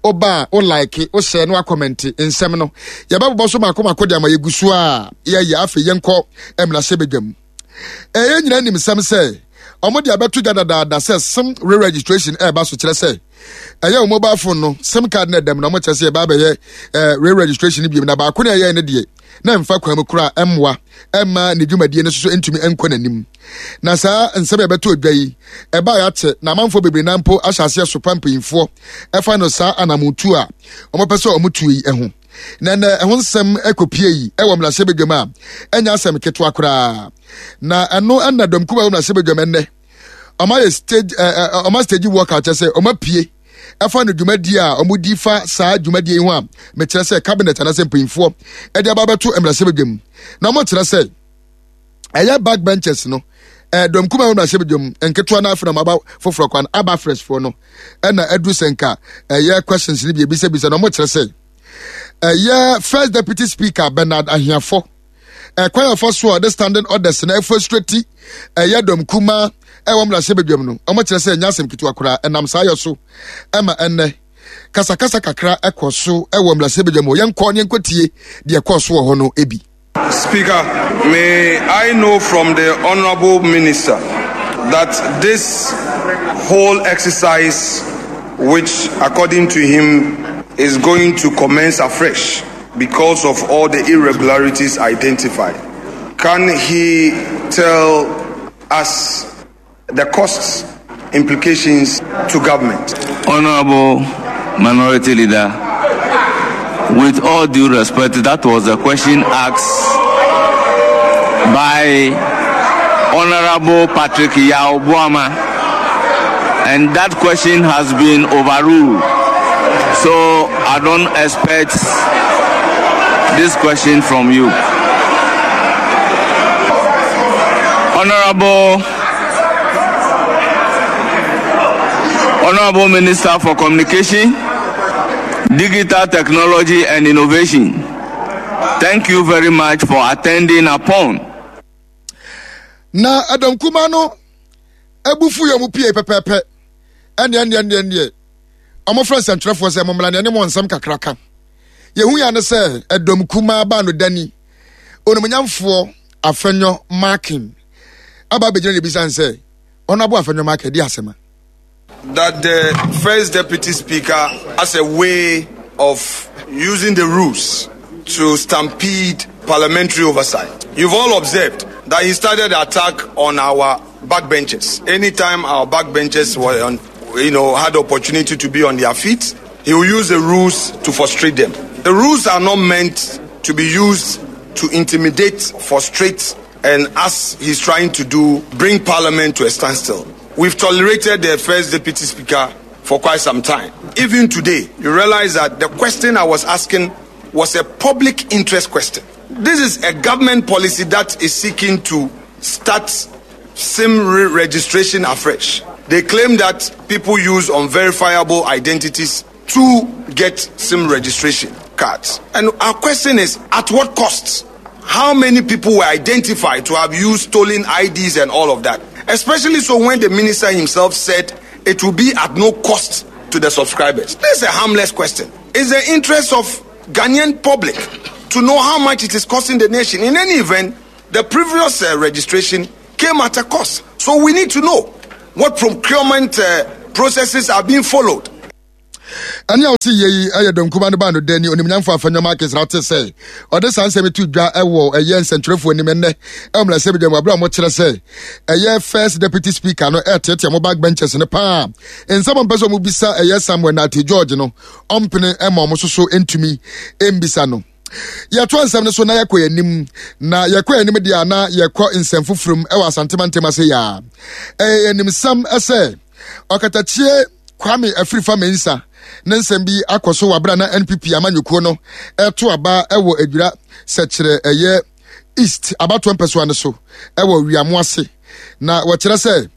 Ɔba a, wo like, wo share, na wa comment nsɛm no. Yɛbɛbobɔ so mako mako de ama yɛgu so a yɛyɛ. Afei yɛnkɔ mmarahyɛbadwam. Ɛyɛ nyinaa nim nsɛm sɛ ɔmo de abɛto dwa dadaada sɛ SIM re-registration ɛreba so, kyerɛ sɛ ɛyɛ wo mobile phone no SIM card na ɛdɛm na ɔmo kyerɛ sɛ yɛba abɛyɛ, ɛɛ, re-registration bi mu, na baako na ɛyɛ ne deɛ na mfa kwan mu koraa ɛmmoa ɛmma ne dwumadie no nso so ntumi nkɔ n'anim. Na saa nsɛm a yɛbɛto dwa yi ɛbaa yɛakyɛ na amanfoɔ bebree na mpo ahyɛ aseɛ sopa mpanyinfoɔ ɛfa no saa anamotu a wɔpɛ sɛ wɔn tu yi ho. Na ɛnɛ ɛho nsɛm ɛkɔpie yi ɛwɔ mmarahyɛbadwam a ɛnyɛ asɛm ketewa koraa. Na ɛno ɛna dɔm kuma ɛwɔ mmarahyɛbadwam ɛnɛ ɔmo ayɛ stage, ɛɛ, ɛɛ, ɔmo stage work a kyerɛ sɛ ɔmo apue ɛfa no dwumadie a ɔmo di fa saa dwumadie yi ho a mekyerɛ sɛ cabinet anaasɛ mpanyinfoɔ ɛde aba abɛto mmarahyɛbadwam. Na ɔmo kyerɛ sɛ ɛyɛ backbenchers no, ɛɛ, dɔm kuma ɛwɔ mmarahyɛbadwam nketewa no afei na ɔmo aba foforɔ kwan aba fresh foɔ no ɛna ɛduru sɛ nka ɛyɛ questions no bi ebisabisa. Na ɔmo kyerɛ sɛ ɛyɛ first deputy speaker Bernard Ahiafor ɛkwan afa so a ɔde standing orders na ɛfrustrate ɛyɛ dɔm kuma ɛwɔ mmarahyɛbadwam no, ɔmo kyerɛ sɛ ɛnyɛ asɛm ketewa koraa. Ɛnam saa yɛ so ɛma ɛnnɛ kasakasa kakra ɛkɔ so ɛwɔ mmarahyɛbadwam hɔ. Yɛnkɔ ne yɛnkɔtie deɛ ɛkɔɔ so wɔ hɔ no ebi. Speaker, may I know from the Honorable Minister that this whole exercise, which according to him is going to commence afresh because of all the irregularities identified, can he tell us the costs, implications to government. Honorable Minority Leader, with all due respect, that was a question asked by Honorable Patrick Yaw Boamah, and that question has been overruled. So I don't expect this question from you. Honorable, Honorable Minister for Communication, Digital Technology and Innovation, thank you very much for attending upon. Na Adam Kumano ebufu yo mu pie pepepe ene ene ene ene omo friends and trefo se mo mla ne mo nsem kakraka yehu ya ne se Adam Kuma ba no dani onumunyamfo Afenyo Markin aba begina ne bisa nse Honorable Afenyo Markin di asema that the first deputy speaker has a way of using the rules to stampede parliamentary oversight. You've all observed that he started the attack on our backbenchers. Anytime our backbenchers were on, you know, had the opportunity to be on their feet, he will use the rules to frustrate them. The rules are not meant to be used to intimidate, frustrate, and as he's trying to do, bring parliament to a standstill. We've tolerated the first deputy speaker for quite some time. Even today, you realize that the question I was asking was a public interest question. This is a government policy that is seeking to start SIM re-registration afresh. They claim that people use unverifiable identities to get SIM registration cards. And our question is, at what cost? How many people were identified to have used stolen I Ds and all of that? Especially so when the minister himself said it will be at no cost to the subscribers. This is a harmless question. It's the interest of Ghanaian public to know how much it is costing the nation. In any event, the previous, uh, registration came at a cost. So we need to know what procurement, uh, processes are being followed. Ani a wote yei ɛyɛ dɔnkuma no ba no dani onimnyamfo Afenyo Markin rate sɛ ɔde saa nsɛm to dwa ɛwɔ ɛyɛ nsɛntwerɛfoɔ anim ɛnnɛ ɛwɔ mmarahyɛ badwam abere a wɔkyerɛ sɛ ɛyɛ first deputy speaker no ɛteɛteɛ mo backbenchers no paa nsɛm a mpɛ sɛ ɔmo bisa ɛyɛ Samuel Nate George no ɔmpene ɛma ɔmo soso ntumi mbisa no. Yɛto nsɛm no so na yɛkɔ anim na yɛkɔ anim deɛ na yɛkɔ nsɛm foforɔ mu ɛwɔ Asantema ntɛm ase yaa ɛyɛ animsɛm ɛsɛ ɔkatakyie Kwame Afrifa Mensah ne nsɛm bi akɔ so wɔ abere na N P P amanyɔkuo no ɛto aba ɛwɔ Adwira sɛkyerɛ ɛyɛ East abatoɔ mpɛsoa no so ɛwɔ Wiamo ase na wɔkyerɛ sɛ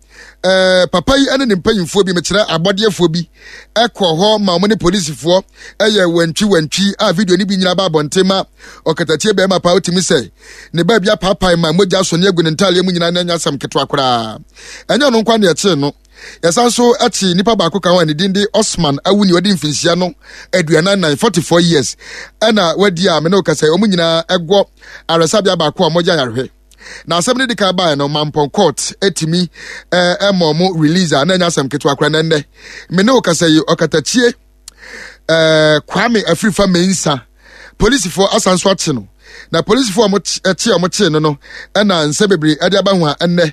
ɛɛ papa yi ɛne ne mpanyinfoɔ bi mekyerɛ abɔdeɛfoɔ bi ɛkɔ hɔ ma wɔn ne polisifoɔ ɛyɛ wantwi wantwi a video no bi nyina ba abɔnten ma ɔkatakyie bɛrima paa otimi sɛ ne baabi apaapae ma mogya so ne agu ne ntaaleɛ mu nyinaa na anya asɛm ketewa koraa ɛnyɛ ɔno nkwa ne ɛkyee no. Yɛsan so akyi nipa baako ka ho a ne din de Osman Awuni ɔde mfinhyia no aduanan nan, forty-four years ɛna wadi a me ne wo kasa yi, wɔn nyinaa ɛgɔ aresabea baako a wɔgya yarehwɛ. Na asɛm no di kan baeɛ no, Mampɔn court etimi, eh, ɛma ɔmo release a na ɛnyɛ asɛm ketewa koraa na ɛnnɛ. Me ne wo kasa yi, ɔkatakyie, eh, Kwame Afrifa Mensah, polisifoɔ asan so akye no. Na polisifoɔ a ɔmo kye, ɛkye a ɔmo kye no no, ɛna nsɛm bebree ɛde aba ho a ɛnnɛ.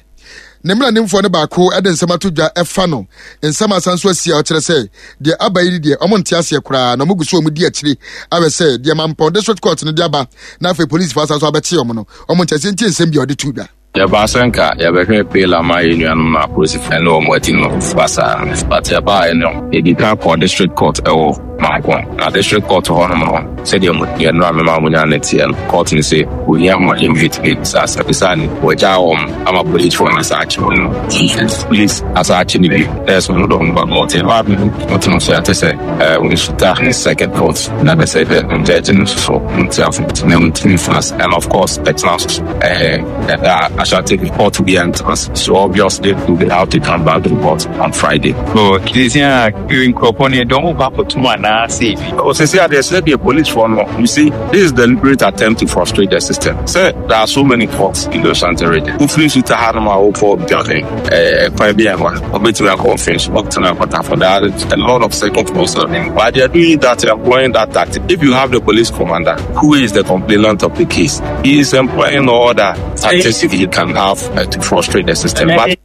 Ne mmeranimfoɔ no baako de nsɛm ato dwa ɛfa no. Nsɛm asan so asi a ɔkyerɛ sɛ deɛ aba yi deɛ ɔmo nte aseɛ koraa na ɔmo gu so ɔmo di akyire awɛ sɛ deɛ Mampɔn district court no de aba na afei polisifoɔ asan so abɛkye ɔmo no ɔmo nte aseɛ nti nsɛm bi a ɔde to dwa. Yɛba sɛ nka yɛbɛhwɛ bail ama yɛn nuanom no apolisifoɔ ne wɔn adi no basaa. But yɛbaeɛ no, yɛdi kan kɔɔ district court ɛwɔ Mampɔn. Na district court hɔnom no, sɛdeɛ mo yɛn nora mema mo nya ne teɛ no, court no sɛ ohia mo invite saa sɛ bisa ne wɔgyaa wɔn ama policefoɔ no asa akye wɔn no. Police asa akye ne bi. Ɛyɛ sɛ ɔno dɔm ba court. Yɛba no, ɔte no so yɛate sɛ, eh, wɔnsuta second court. Na bɛ sɛ bɛ judge no nso so, nti afo na ntumi fast. And of course, ɛtena so so. Eh, ɛda Ashanti court bi ɛntena so. So obviously, we will have to come back to court on Friday. So, Christian, nkurɔfoɔ no, yɛde wɔn ba akɔtum anaa sɛ ebi? Oh, sɛ sɛ adeɛ sɛ deɛ police for no, you see, this is deliberate attempt to frustrate the system. Sɛ there are so many courts in the Ashanti region. Wofiri so ta ha no ma wokɔ building, eh, kwan bi a ɛwɔ, wobɛtumi akɔ office, wobɛtumi akɔ Tafo. There are a lot of second floors. But they are doing that, employing that tactic. If you have the police commander, who is the complainant of the case, he is employing all the tactics he can have, uh, to frustrate the system. But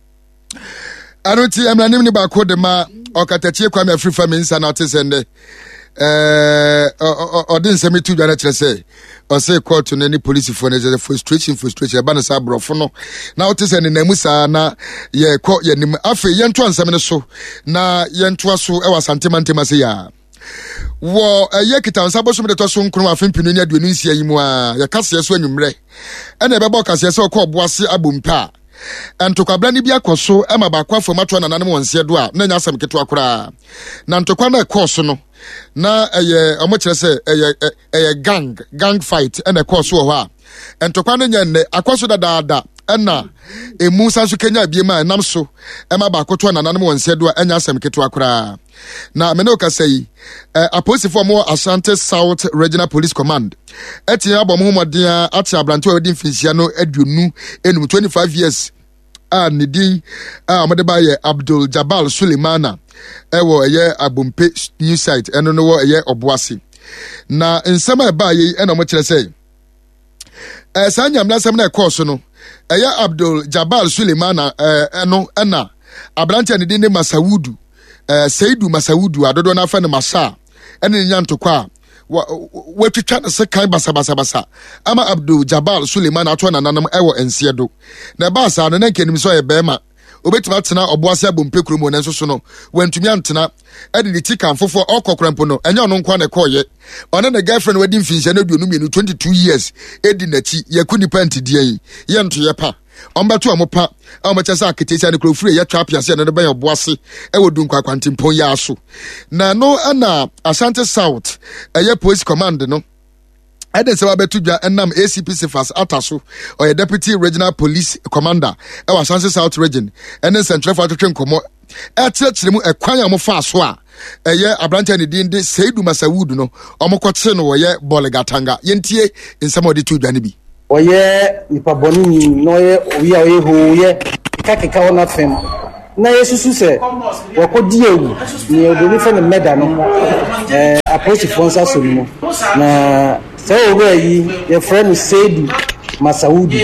ɛno nti mmaranim ne baako de ma Ɔkatakyie Kwame Afrifa Mensah na ɔte sɛ ndɛ ɛɛ ɔde nsɛm to dwa no kyerɛ sɛ ɔsɛ kɔɔto no ne polisifoɔ no kyerɛ frustration frustration ɛba no saa aborɔfo no na ɔte sɛ nenam mu saa na yɛkɔ yɛnim. Afei yɛntoa nsɛm no so na yɛntoa so ɛwɔ Asante mantam ase yɛ wɔ ɛyɛ Kitansa bosom de tɔ so nkron afe mpenu ne aduonu nsia yi mu a yɛkaseɛ so anwummerɛ ɛna ɛbɛbɔ kaseɛ sɛ ɔkɔ Ɔboase abompa a ntokwabra no bi akɔ so ma baako afam atoa nananom wɔn nseɛ do a na ɛnyɛ asɛm ketewa koraa. Na ntokwa no ɛkɔɔ so no na ɛyɛ ɔmo kyerɛ sɛ ɛyɛ ɛyɛ gang gang fight ɛna ɛkɔɔ so wɔ hɔ a ntokwa no nyɛ nnɛ, akɔ so dadaada, ɛna emu san so kenya ebiem a ɛnam so ɛma baako toa nananom wɔn nseɛ do a ɛnyɛ asɛm ketewa koraa. Na mene okasa yi, eh, apolisifoɔ a wɔwɔ Ashanti South Regional Police Command ɛte abɔ mo ho mmɔden a ate aberante a wɔadi mfinhyia no aduonu enum, twenty-five years, a ne din a wɔde ba yɛ Abdul Jabal Sulemana, ɛwɔ ɛyɛ Abompe new site, ɛno no wɔ ɛyɛ Ɔboase. Na nsɛm a ɛbaa yi ɛna wɔkyerɛ sɛ ɛɛ saa nyamlasɛm na ɛkɔɔ so no ɛyɛ Abdul Jabal Sulemana ɛɛ ɛno ɛna aberante a ne din ne Masawudu, ɛɛ Seidu Masawudu a dodoɔ n'afɛ no Masa, ɛne ne nya ntokwa a watwitwa ne sekan basabasabasa ama Abdul Jabal Suleiman ato nananom ɛwɔ nseɛ do. Na ɛbaa saa no na nka anim sɛ ɔyɛ bɛrima obetumi atena Ɔboase Abompe kurom hɔ, nanso so no wantumi antena, ɛde ne ti kan foforɔ ɔkɔ kora mpo no ɛnyɛ ɔno nko na ɛkɔɔyɛ, ɔne ne girlfriend wadi mfinhyia no aduonu mmienu, twenty-two years, edi n'akyi. Yɛku nipa ntideɛ yi yɛntoyɛ pa ɔmbɛto ɔmo pa a ɔmo kyɛ sɛ aketesia no kuro firi yɛtwa apiase ɛno no bɛyɛ Ɔboase ɛwɔ Dunkwa akwantempɔn yi aso. Na no ɛna Ashanti South ɛyɛ Police Command no ɛde nsɛm abɛto dwa ɛnam A C P Sefas Ata so, ɔyɛ Deputy Regional Police Commander ɛwɔ Ashanti South Region, ɛne nsɛntwerɛfoɔ atwetwe nkɔmmɔ ɛkyerɛkyerɛ mu ɛkwan a wɔfaa so a ɛyɛ aberanteɛ ne din de Seidu Masawudu no ɔmokɔkye no wɔyɛ Bɔlegatanga. Yɛntie nsɛm a ɔde to dwa no bi. Ɔyɛ nipa bɔneni na ɔyɛ obi a ɔyɛ hooyɛ kekakeka wɔ n'afɛm na yɛsusu sɛ wɔkɔdi awu nea obroni fɛ no mɛda no ɛɛ apolisifoɔ nsa so no mu. Na saa owura yi yɛfrɛ no Seidu Masawudu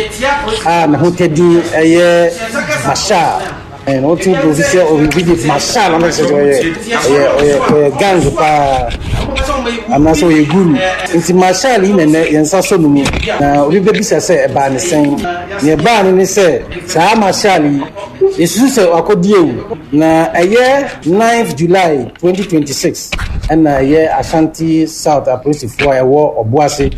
a ne ho tɛdin ɛyɛ Masha, ɛn wotu ofi sɛ obi de Masha na ɔno sɛ ɔyɛ ɔyɛ ɔyɛ ɔyɛ gang paa anaasɛ ɔyɛ guru. Nti Masha yi nɛnɛ yɛn nsa so no mu na obi bɛbisa sɛ ɛbaa ne sɛn. Nea ɛbaa no ne sɛ saa Masha yi yɛsusu sɛ wakɔdi ewu na ɛyɛ ninth July twenty twenty-six ɛna ɛyɛ Ashanti South apolisifoɔ a ɛwɔ Ɔboase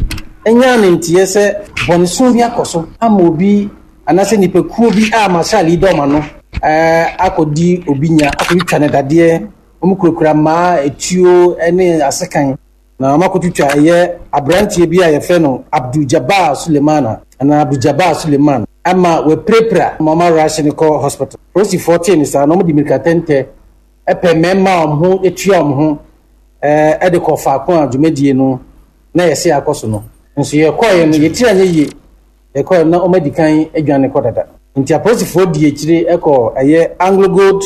ɛnya ne nteɛ sɛ bɔneso bi akɔ so ama obi anaasɛ nipakuo bi a Marshal yi dɔm ano ɛɛ akɔdi obi nya akɔtwitwa ne dadeɛ. Wɔn kurakura mmaa, etuo ne asekan na wɔn akɔtwitwa ɛyɛ aberanteɛ bi a yɛfrɛ no Abdul Jabbar Sulemana anaa Abdul Jabbar Suleman ama wapirapira ma wɔn arahye no kɔ hospital. Polisifoɔ tee ne saa na wɔn de mirika tɛntɛ ɛpɛ mmarima a wɔn ho atua wɔn ho ɛɛ ɛde kɔ faako a dwumadie no na yɛsɛ akɔ so no. Nso yɛkɔɛ no yɛtiri anyɛ yie, yɛkɔɛ no na wɔn adi kan adwane kɔ dada. Nti apolisifoɔ di akyire ɛkɔ ɛyɛ Anglo Gold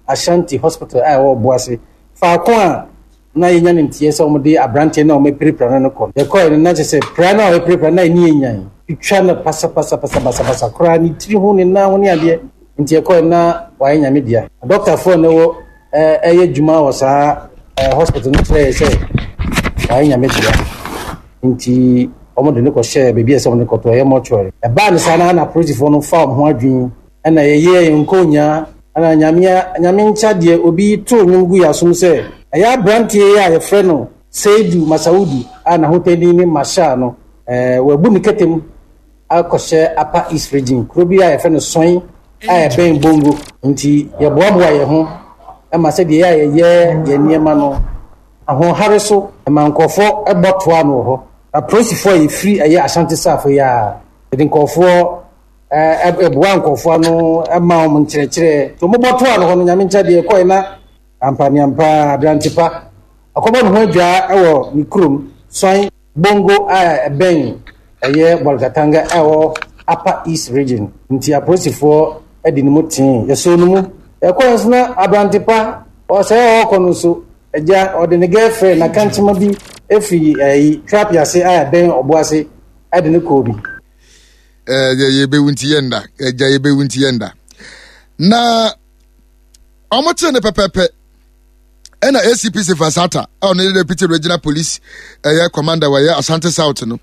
Ashanti Hospital a ɛwɔ Ɔboase faako a na yɛnya ne nteɛ sɛ wɔde aberanteɛ no a wɔapirapira no no kɔ. Yɛkɔɛ no na kyerɛ sɛ pira no a wɔapirapira no na ɛni enyan twitwa no pasapasapasa koraa, ne tiri ho, ne nan ho ne adeɛ. Nti yɛkɔɛ na wayɛ Nyame dea. Dɔktafoɔ no wɔ ɛyɛ adwuma wɔ saa hospital no kyerɛ yɛ sɛ wayɛ Nyame dea, nti wɔn de ne kɔhyɛ baabi a ɛsɛ wɔn de kɔtɔ ɛyɛ mortuary. Ɛbaa ne saa na na apolisifoɔ no fa wɔn ho adwene ɛna yɛyɛ yɛn nkonya ɛna nyame nyame nkyɛ deɛ obi to nnwom gu yɛ asom sɛ ɛyɛ aberanteɛ yi a yɛfrɛ no Seidu Masaudu a n'ahotɛni ne Masha no ɛɛ wabu ne kɛtɛm akɔhyɛ Upper East Region kuro bi a yɛfrɛ no Sɔn a ɛbɛn Bongo. Nti yɛboaboa yɛn ho ɛma sɛdeɛ yɛ a yɛyɛ yɛn nneɛma no ahoɔhare so ɛma nkurɔfoɔ ɛbɔ toa no wɔ hɔ. Apolisifoɔ a yɛfiri ɛyɛ Ashanti South yi a yɛde nkurɔfoɔ ɛɛ ɛboa nkurɔfoɔ ano ɛma wɔn nkyerɛkyerɛ nti wɔn bɔ toa no hɔ no. Nyame nkyɛn deɛ ɛkɔɛ na ampaneampa aberante pa ɔkɔbɔ ne ho adwaa ɛwɔ ne kurom Sɔn Bongo a ɛbɛn ɛyɛ Bɔlgatanga ɛwɔ Upper East Region. Nti apolisifoɔ ɛde ne mu tee yɛsɔ no mu ɛkɔɛ nso na aberante pa ɔsɛ ɔkɔ no nso agya ɔde ne girlfriend na kankyema bi efiri ɛyi Trapiase a ɛbɛn Ɔboase ɛde ne kɔɔ bi. Ɛɛ yɛbɛwu nti yɛnda agya, yɛbɛwu nti yɛnda. Na ɔmo kyee ne pɛpɛpɛ. Ɛna A C P Cephas Atta a ɔno ne Deputy Regional Police ɛyɛ Commander wɔyɛ Asante South no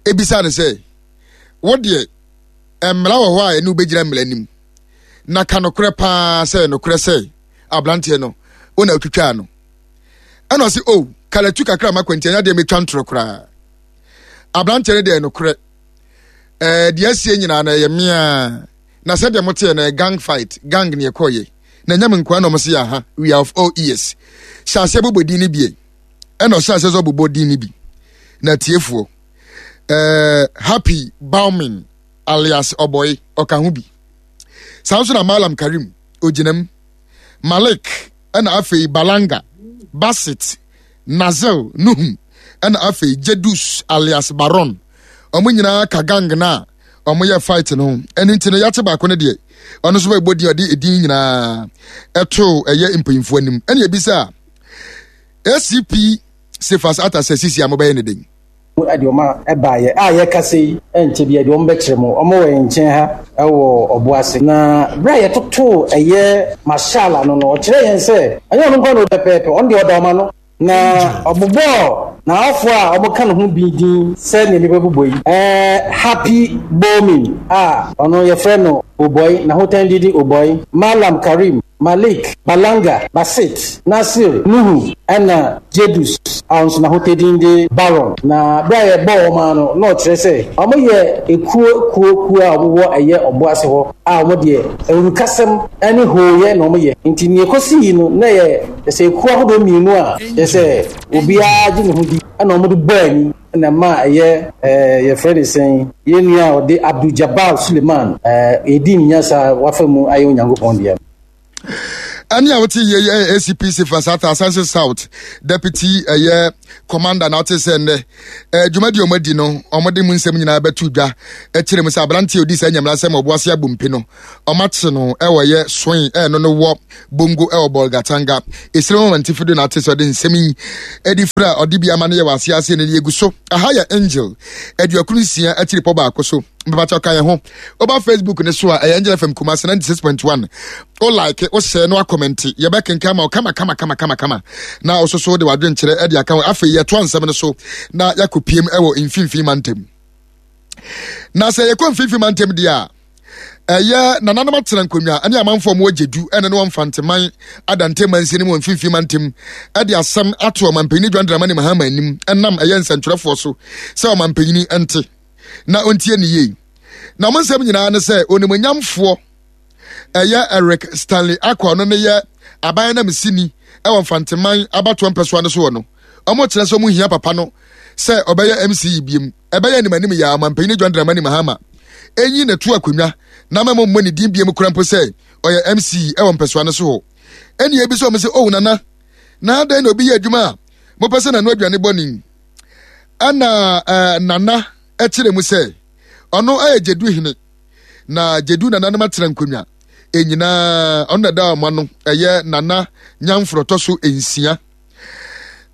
ebisa ne sɛ wo deɛ mmara wɔ hɔ a ɛne wobɛgyina mmara anim na ka nokorɛ paa sɛ nokorɛ sɛ aberanteɛ no wo na wotwitwaa no. Ɛna ɔse o kalatu kakra ma kwanti ɛnyɛ deɛ metwa ntorɔ koraa. Aberanteɛ no deɛ nokorɛ ɛɛ deɛ asie nyinaa no ɛyɛ mmea na sɛdeɛ moteɛ no gang fight gang ne ɛkɔɔyɛ na ɛnyɛ me nkoa na ɔmo se aha we are of all ears. Hyɛ aseɛ bobɔ din no bie. Ɛna ɔhyɛ aseɛ sɛ ɔbobɔ din no bi na tiefoɔ ɛɛ Happy Baumin alias Ɔbɔe ɔka ho bi. Saa nso na Malam Karim ogyinam Malik ɛna afei Balanga Basit Nazil Nuhum ɛna afei Jedus alias Baron. Ɔmo nyinaa ka gang na ɔmo yɛ fight no. Ɛno nti no yɛate baako no deɛ ɔno nso bɛbɔ din ɔde edin nyinaa ɛto ɛyɛ mpanyinfoɔ anim. Ɛna ebisa A C P Cephas Atta sɛ sisi a mobɛyɛ ne den. Ɛde ɔma ɛbaayɛ a yɛka sɛ yi ɛnkyɛ bi ɛde ɔmo bɛkyerɛ mu ɔmo wɔ nkyɛn ha ɛwɔ ɔbo ase. Na bere a yɛtoto ɛyɛ mashala no no ɔkyerɛ yɛn sɛ ɛnyɛ ɔno nko na ɔpɛpɛɛpɛ ɔno deɛ ɔda ɔma no. Na ɔbobɔɔ n'awofo a ɔmo ka ne ho bi din sɛ nea nipa bobɔ yi. Ɛɛ Happy Bowman a ɔno yɛfrɛ no Oboy na hotan didi Oboy, Malam Karim, Malik, Balanga, Basit, Nasir, Nuhu ɛna Jedus a ɔno nso n'ahotadin de Baron. Na bere a yɛbɔɔ wɔn ano na ɔkyerɛ sɛ ɔmo yɛ ekuo kuo kuo a ɔmo wɔ ɛyɛ ɔbo ase hɔ a ɔmo deɛ awurukasɛm ɛne hooyɛ na ɔmo yɛ. Nti nea ekosi yi no na yɛ sɛ ekuo ahodoɔ mmienu a yɛ sɛ obiara gye ne ho di ɛna ɔmo de bɔɔ ani na ma ɛyɛ ɛɛ yɛfrɛ ne sɛn yɛn nua a ɔde Abdul Jabbar Suleiman ɛɛ edi ne nyasa wafa mu ayɛ Onyankopɔn deɛ. Ɛne a wote yɛ yɛ A C P Cephas Atta Asante South Deputy ɛyɛ Commander na wote sɛ nnɛ dwumadi ɔmo adi no ɔmo de mu nsɛm nyinaa bɛto dwa ɛkyerɛ mu sɛ aberanteɛ odi saa nyamla sɛm ɔbo ase abompe no ɔmo akye no ɛwɔ yɛ soin ɛno no wɔ Bongo ɛwɔ Bolgatanga esire mu mantifi do na ate sɛ ɔde nsɛm yi ɛdi fira ɔde bi ama no yɛ wɔ ase ase ne yɛgu so. Aha yɛ Angel aduokron nsia akyiri pɔ baako so. Mbabacha ka yɛn ho. Oba Facebook ne so a ɛyɛ Angel F M Kumasi ninety-six point one. O like, o share no a comment. Yɛbɛkenkan ma o kama kama kama kama kama. Na o soso de wadwenkyerɛ ɛde aka ho. Afei yɛto ansɛm no so na yɛakɔpiem ɛwɔ mfimfini mantam. Na sɛ yɛkɔ mfimfini mantam deɛ a ɛyɛ nananom atena nkonnwa ɛne amanfoɔ mu agyedu ɛne ne wɔmfanteman adante mansi ne mu mfimfini mantam ɛde asɛm ato ɔmampanyini John Dramani Mahama anim ɛnam ɛyɛ nsɛntwerɛfoɔ so sɛ ɔmampanyini ɛnte na ɔntie ne yie. Na mo nsɛm nyinaa ne sɛ onimonyamfoɔ ɛyɛ Eric Stanley Akwa no ne yɛ aban nam sini ɛwɔ mfanteman abatoɔ mpɛsoa no so wɔ no. Ɔmo kyerɛ sɛ ɔmo hia papa no sɛ ɔbɛyɛ M C biem. Ɛbɛyɛ anim anim yɛ ɔmampanyini John Dramani Mahama enyi na to akonnwa na mɛmɔ mmɔ ne din biem kora mpo sɛ ɔyɛ M C ɛwɔ mpɛsoa no so hɔ. Ɛnni ebi sɛ ɔmo sɛ oh nana na adɛn na obi yɛ adwuma a mopɛ sɛ nano aduane bɔ ne ɛna ɛɛ nana ɛkyerɛ mu sɛ ɔno ɛyɛ Gyedu hene na Gyedu nananom atena nkonnwa enyinaa ɔno na ɛda ɔmo ano ɛyɛ nana nyamforɔtɔ so nsia.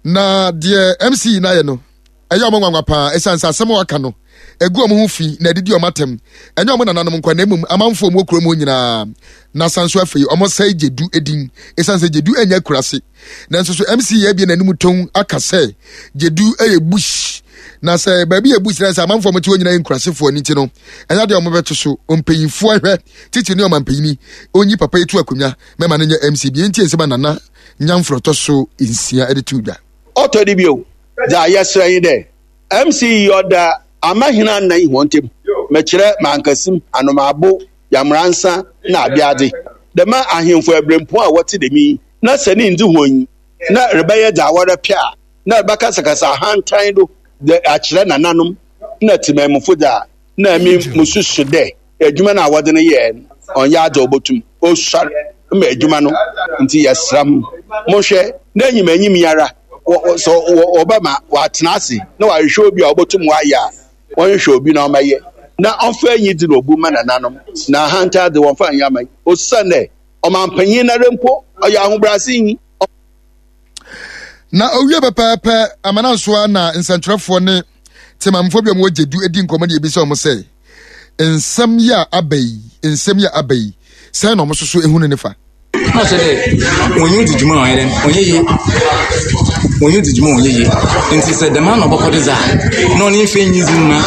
Na deɛ M C na yɛ no ɛyɛ ɔmo nwanwa paa ɛsiane sɛ asɛm a waka no egu ɔmo ho fi na ɛdidi ɔmo atɛm. Ɛnyɛ ɔmo nananom nkwa na mmom amanfoɔ ɔmo kurom hɔ nyinaa. Na san so afei ɔmo sɛe Gyedu edin ɛsiane sɛ Gyedu ɛnyɛ akurase. Nanso so M C yɛ abie n'anim tɔn aka sɛ Gyedu ɛyɛ bush. Na sɛ baabi yɛ bush na sɛ amanfoɔ ɔmo te hɔ nyinaa yɛ nkurasefoɔ ne ti no ɛnyɛ deɛ ɔmo bɛto so. Mpanyinfoɔ ahwɛ titi ne ɔmampanyini onyi papa etu akonnwa mɛma no nyɛ M C bi nti nsɛm a nana nyamforɔtɔ so nsia ɛde to dwa. Ɔtɔ de bio dza yɛsrɛ yi dɛ M C yi ɔda amahena nnan hɔn ntam mekyerɛ mankasim anomaabo yamransa na abiadze dɛm ahemfo abirempo a wɔte dɛm yi na sɛ ne ndzi hɔn yi na rebɛyɛ dza wɔrepɛ a na rebɛkasakasa ahantan do de akyerɛ nananom na temammufo dza na mi mususu dɛ adwuma no a wɔde no yɛɛ no ɔnyɛ adze a obotum osuar ma adwuma no nti yɛsrɛ mo mohwɛ na enyim enyim yi ara sɛ wɔbɛma wɔatena ase na wɔahwehwɛ obi a obotum wɔayɛ a wɔnhwehwɛ obi na ɔmɛyɛ na ɔmfa enyi dze na obu ma nananom na ahantan dze wɔmfa nyɛ aman osiane ɔmampanyin nara mpo ɔyɛ ahobrɛase nyi. Na owie pɛpɛɛpɛ amanansoa na nsɛntwerɛfoɔ ne temamfoɔ bi a wɔwɔ Gyedu edi nkɔmmɔ ne ebisa wɔn sɛ nsɛm yi a aba yi nsɛm yi a aba yi sɛn na wɔn nso so ehunu ne fa. Na ɔkyerɛ dɛ wɔnye wo dzi dwuma a ɔyɛ dɛn, ɔnnyɛ yie. Wɔnye wo dzi dwuma a ɔnnyɛ yie. Ntsi sɛ dɛm ara na ɔbɔkɔ do dze a, na ɔno mfa enyidzi mma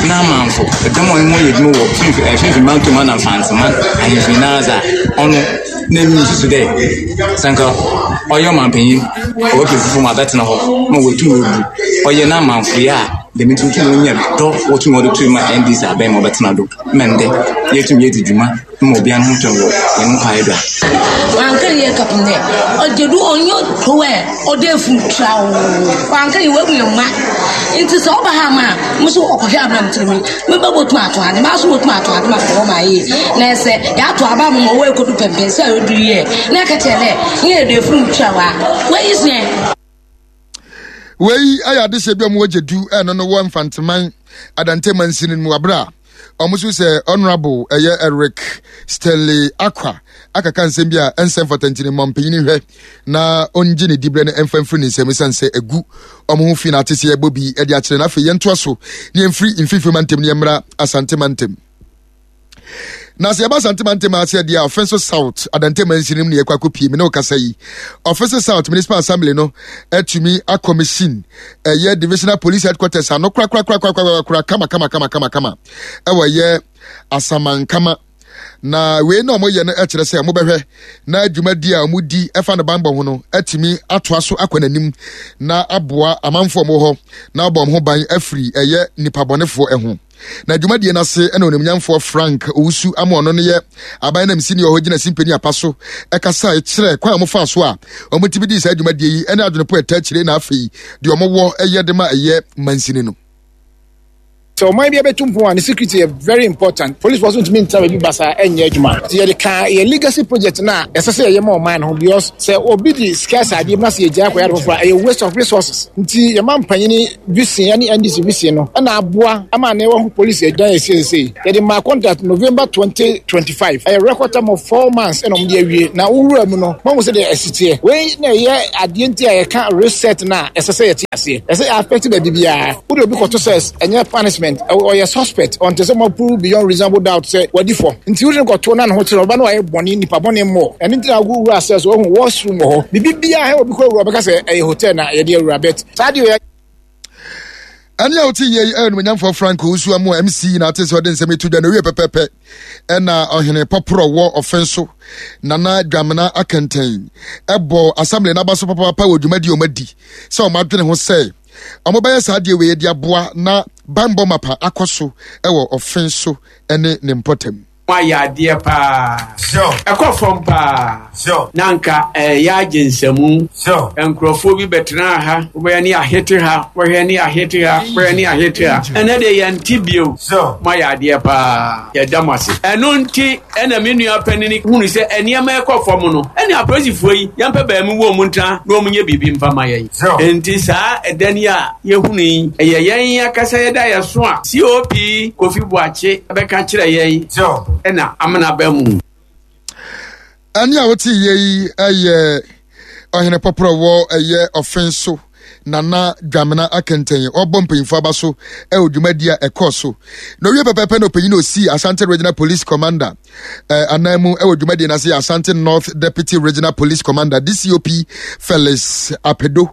n'amamfo, dɔm a ɔnye hɔn yɛ edwuma wɔ Finimfin ɛɛ Finimfin Mantam ana Mfantseman ahemfo nyinara dze a, ɔno na emi mususu dɛ sɛ nka ɔyɛ ɔmampanyin, ɔwɔ fufuo mu abɛtsena hɔ ma oetum oebu ɔyɛ n'amamfoyɛ a, dɛm ntsi wotum wonya dɔ wotum wɔdze too mu a N D C abɛn ma ɔbɛtsena do ma ndɛ yetum yedzi dwuma ma obiara ho tɔ wɔ hɛn kwae do a. Wanka yɛ kapem dɛ ɔgyedu ɔnyɛ tow ɛ ɔde efun twa o. Wanka yɛ wabu yɛn mma nti sɛ ɔba ha ma a mo so ɔkɔhwɛ abena mo tirim me ba botum ato ade ma so botum ato ade ma kɔwɔ ma yie na ɛsɛ yɛato aba mo ma ɔwɔ ekodu pɛmpɛn sɛ ɔdu yɛ na ɛka kyerɛ dɛ nyɛ yɛde efun twa wa wɔyi sɛ. Wei ayɛ adehyɛ bi a wɔn agye du ɛno no wɔ Mfanteman Adante mansini mu abere a wɔn nso sɛ Honourable ɛyɛ Eric Stanley Akwa akaka nsɛm bi a ɛnsɛm fata, ntini mmɔ mpanyin hwɛ na ɔngye ne dibrɛ no ɛmfa mfiri ne nsɛm, ɛsiane sɛ egu wɔn ho fi na ate sɛ yɛbɔ bi ɛde akyerɛ. Na afei yɛntoa so ne yɛmfiri Mfimfini Mantam ne yɛmmra Asante Mantam. Na sɛ yɛba Asante Mantam ase deɛ a, Ɔfɛnso South Adante mansini mu ne yɛkɔ akɔpie me ne wokasa yi. Ɔfɛnso South Municipal Assembly no atumi akɔmishini ɛyɛ divisional police headquarters ano korakorakorakorakora kama kama kama kama kama ɛwɔ ɛyɛ Asamankama. Na wei na ɔmoyɛ no kyerɛ sɛ ɔmobɛhwɛ na dwumadi a ɔmodi ɛfa no banbɔ ho no atumi atoa so akɔ n'anim na aboa amanfoɔ ɔmo hɔ na abɔ ɔmo ho ban afiri ɛyɛ nipa bɔnefoɔ ɛho. Na dwumadie no ase ɛna Onimnyamfoɔ Frank Owusu ama ɔno no yɛ aban nam sini ɔhɔ gyina simpani apa so ɛkasa kyerɛ kwan a wɔfa so a wɔn di saa dwumadie yi ɛne adwenepo ɛta akyire, na afei deɛ wɔwɔ ɛyɛ de ma ɛyɛ mansini no. Sɛ ɔman bi abɛtu mpon a, ne security yɛ very important. Police force ntumi ntena baabi basa ɛnyɛ adwuma, nti yɛde ka yɛ legacy project na ɛsɛ sɛ yɛyɛ ma ɔman no ho, because sɛ obi de sika sɛ adeɛ mu na sɛ yɛgyaa akɔyɛ ade foforɔ a, ɛyɛ waste of resources. Nti yɛma mpanyini vision ne N D C vision no ɛna aboa ama ne wɔho police ɛdan yɛ siesie. Yɛde ma contract November twenty twenty-five, ɛyɛ record time of four months ɛna ɔmo de awie. Na wowura mu no, mahu sɛ deɛ ɛsi teɛ. Wei na ɛyɛ adeɛ nti a yɛka reset na ɛsɛ sɛ yɛte aseɛ, ɛsɛ yɛ affect baabi biara. Wode obi kɔto sɛ ɛnyɛ punishment, ɔyɛ suspect ɔnte sɛ mo beyond reasonable doubt sɛ wadi fɔ, nti wode no kɔto na ne ho kyerɛ ɔba na wayɛ bɔne, nipa bɔne mmɔ. Ɛno nti na wowura sɛ so wahu washroom wɔ hɔ, biribi biara obi kɔ wura ɔbɛka sɛ ɛyɛ hotel na yɛde awura bet saa deɛ ɔyɛ. Ɛne a wote yie yi ɛyɛ Nomanyamfoɔ Frank Owusu amu M C na ate sɛ ɔde nsɛm etu dwa na owie pɛpɛpɛ. Ɛna ɔhene pɔporɔ wɔ ɔfɛn so, Nana Dwamena Akɛntɛn, ɛbɔ assembly n'aba so papaapa wɔ dwumadi a wɔn adi sɛ wɔn adwene ho sɛ wɔn bɛyɛ saa adeɛ wei de aboa na banbɔ mapa akɔ so ɛwɔ ɔfɛn so ɛne ne mpɔtam. Ayɛ adeɛ paa, ɛkɔ fam paa na nka ɛyɛ agye nsɛmu. Nkurɔfoɔ bi bɛtena ha, wobɛyɛ ne ahete ha, wɔhwɛ ne ahete ha, wɔhwɛ ne ahete ha. Ɛnɛ de yɛnte bio. Moayɛ adeɛ paa, yɛda mo ase. Ɛno nti ɛna me nua panini hunu sɛ nneɛma ɛkɔ fam no, ɛne apolisifoɔ yi yɛmpɛ baamu wɔ mu ntena na wɔn nyɛ biribi mfa ma yɛn. Nti saa ɛdan yi a yɛhunu yi, ɛyɛ yɛn akasa yɛda yɛ so a C O P Kofi Boakye bɛka kyerɛ yɛn ɛna amena ba mu. Ɛne a wote yie yi ɛyɛ ɔhene pɔporɔ wɔ ɛyɛ ɔfen so, Nana Dwamena Akɛntɛn, ɔbɔ mpanyinfoɔ aba so ɛwɔ dwumadi a ɛkɔɔ so. Na owie pɛpɛɛpɛ na ɔpanyin osi Asante Regional Police Commander ɛɛ anan mu ɛwɔ dwumadi n'ase, Asante North Deputy Regional Police Commander D C O P Felix Apedo,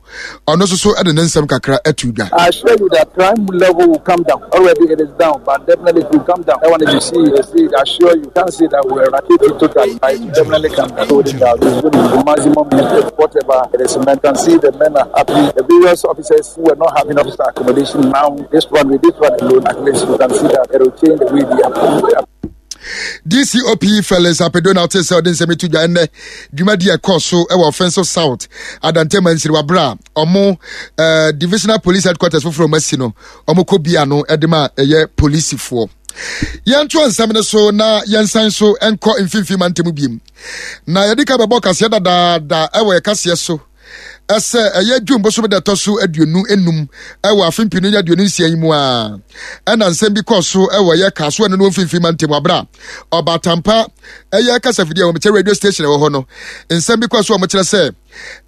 ɔno nso so ɛde ne nsɛm kakra ɛto dwa. I assure you that crime level will come down. Already it is down, but definitely it will come down. I want to see, see, assure you, can't say that we eradicate it totally, but it will definitely come down. So it is going to be maximum whatever it is. And you can see the men are happy. The various officers who were not having officer accommodation now, this one with this one alone, at least you can see that it will change the way they are. D C O P Felix Apedo na ɔte sɛ ɔde nsɛm etu dwa ɛnɛ dwumadi ɛkɔɔ so ɛwɔ Ɔfɛnso South Adante mansiri wabra a ɔmo ɛɛ divisional police headquarters foforɔ ɔmo asi no, ɔmo kɔ bia no ɛde ma ɛyɛ polisifoɔ. Yɛnto nsɛm no so na yɛnsan so nkɔ Mfimfini Mantam biem. Na yɛde ka bɛbɔ kaseɛ dadaada ɛwɔ yɛ kaseɛ so ɛsɛ ɛyɛ June bosom da ɛtɔ so aduonu enum ɛwɔ afe mpinu ne aduonu nsia yi mu a, ɛna nsɛm bi kɔɔ so ɛwɔ ɛyɛ Kasoa no no Mfimfini Mantam abra Ɔbaatampa Ɛyɛ kasafidie a wɔkyɛ radio station ɛwɔ hɔ no, nsɛm bi kɔ so a wɔkyerɛ sɛ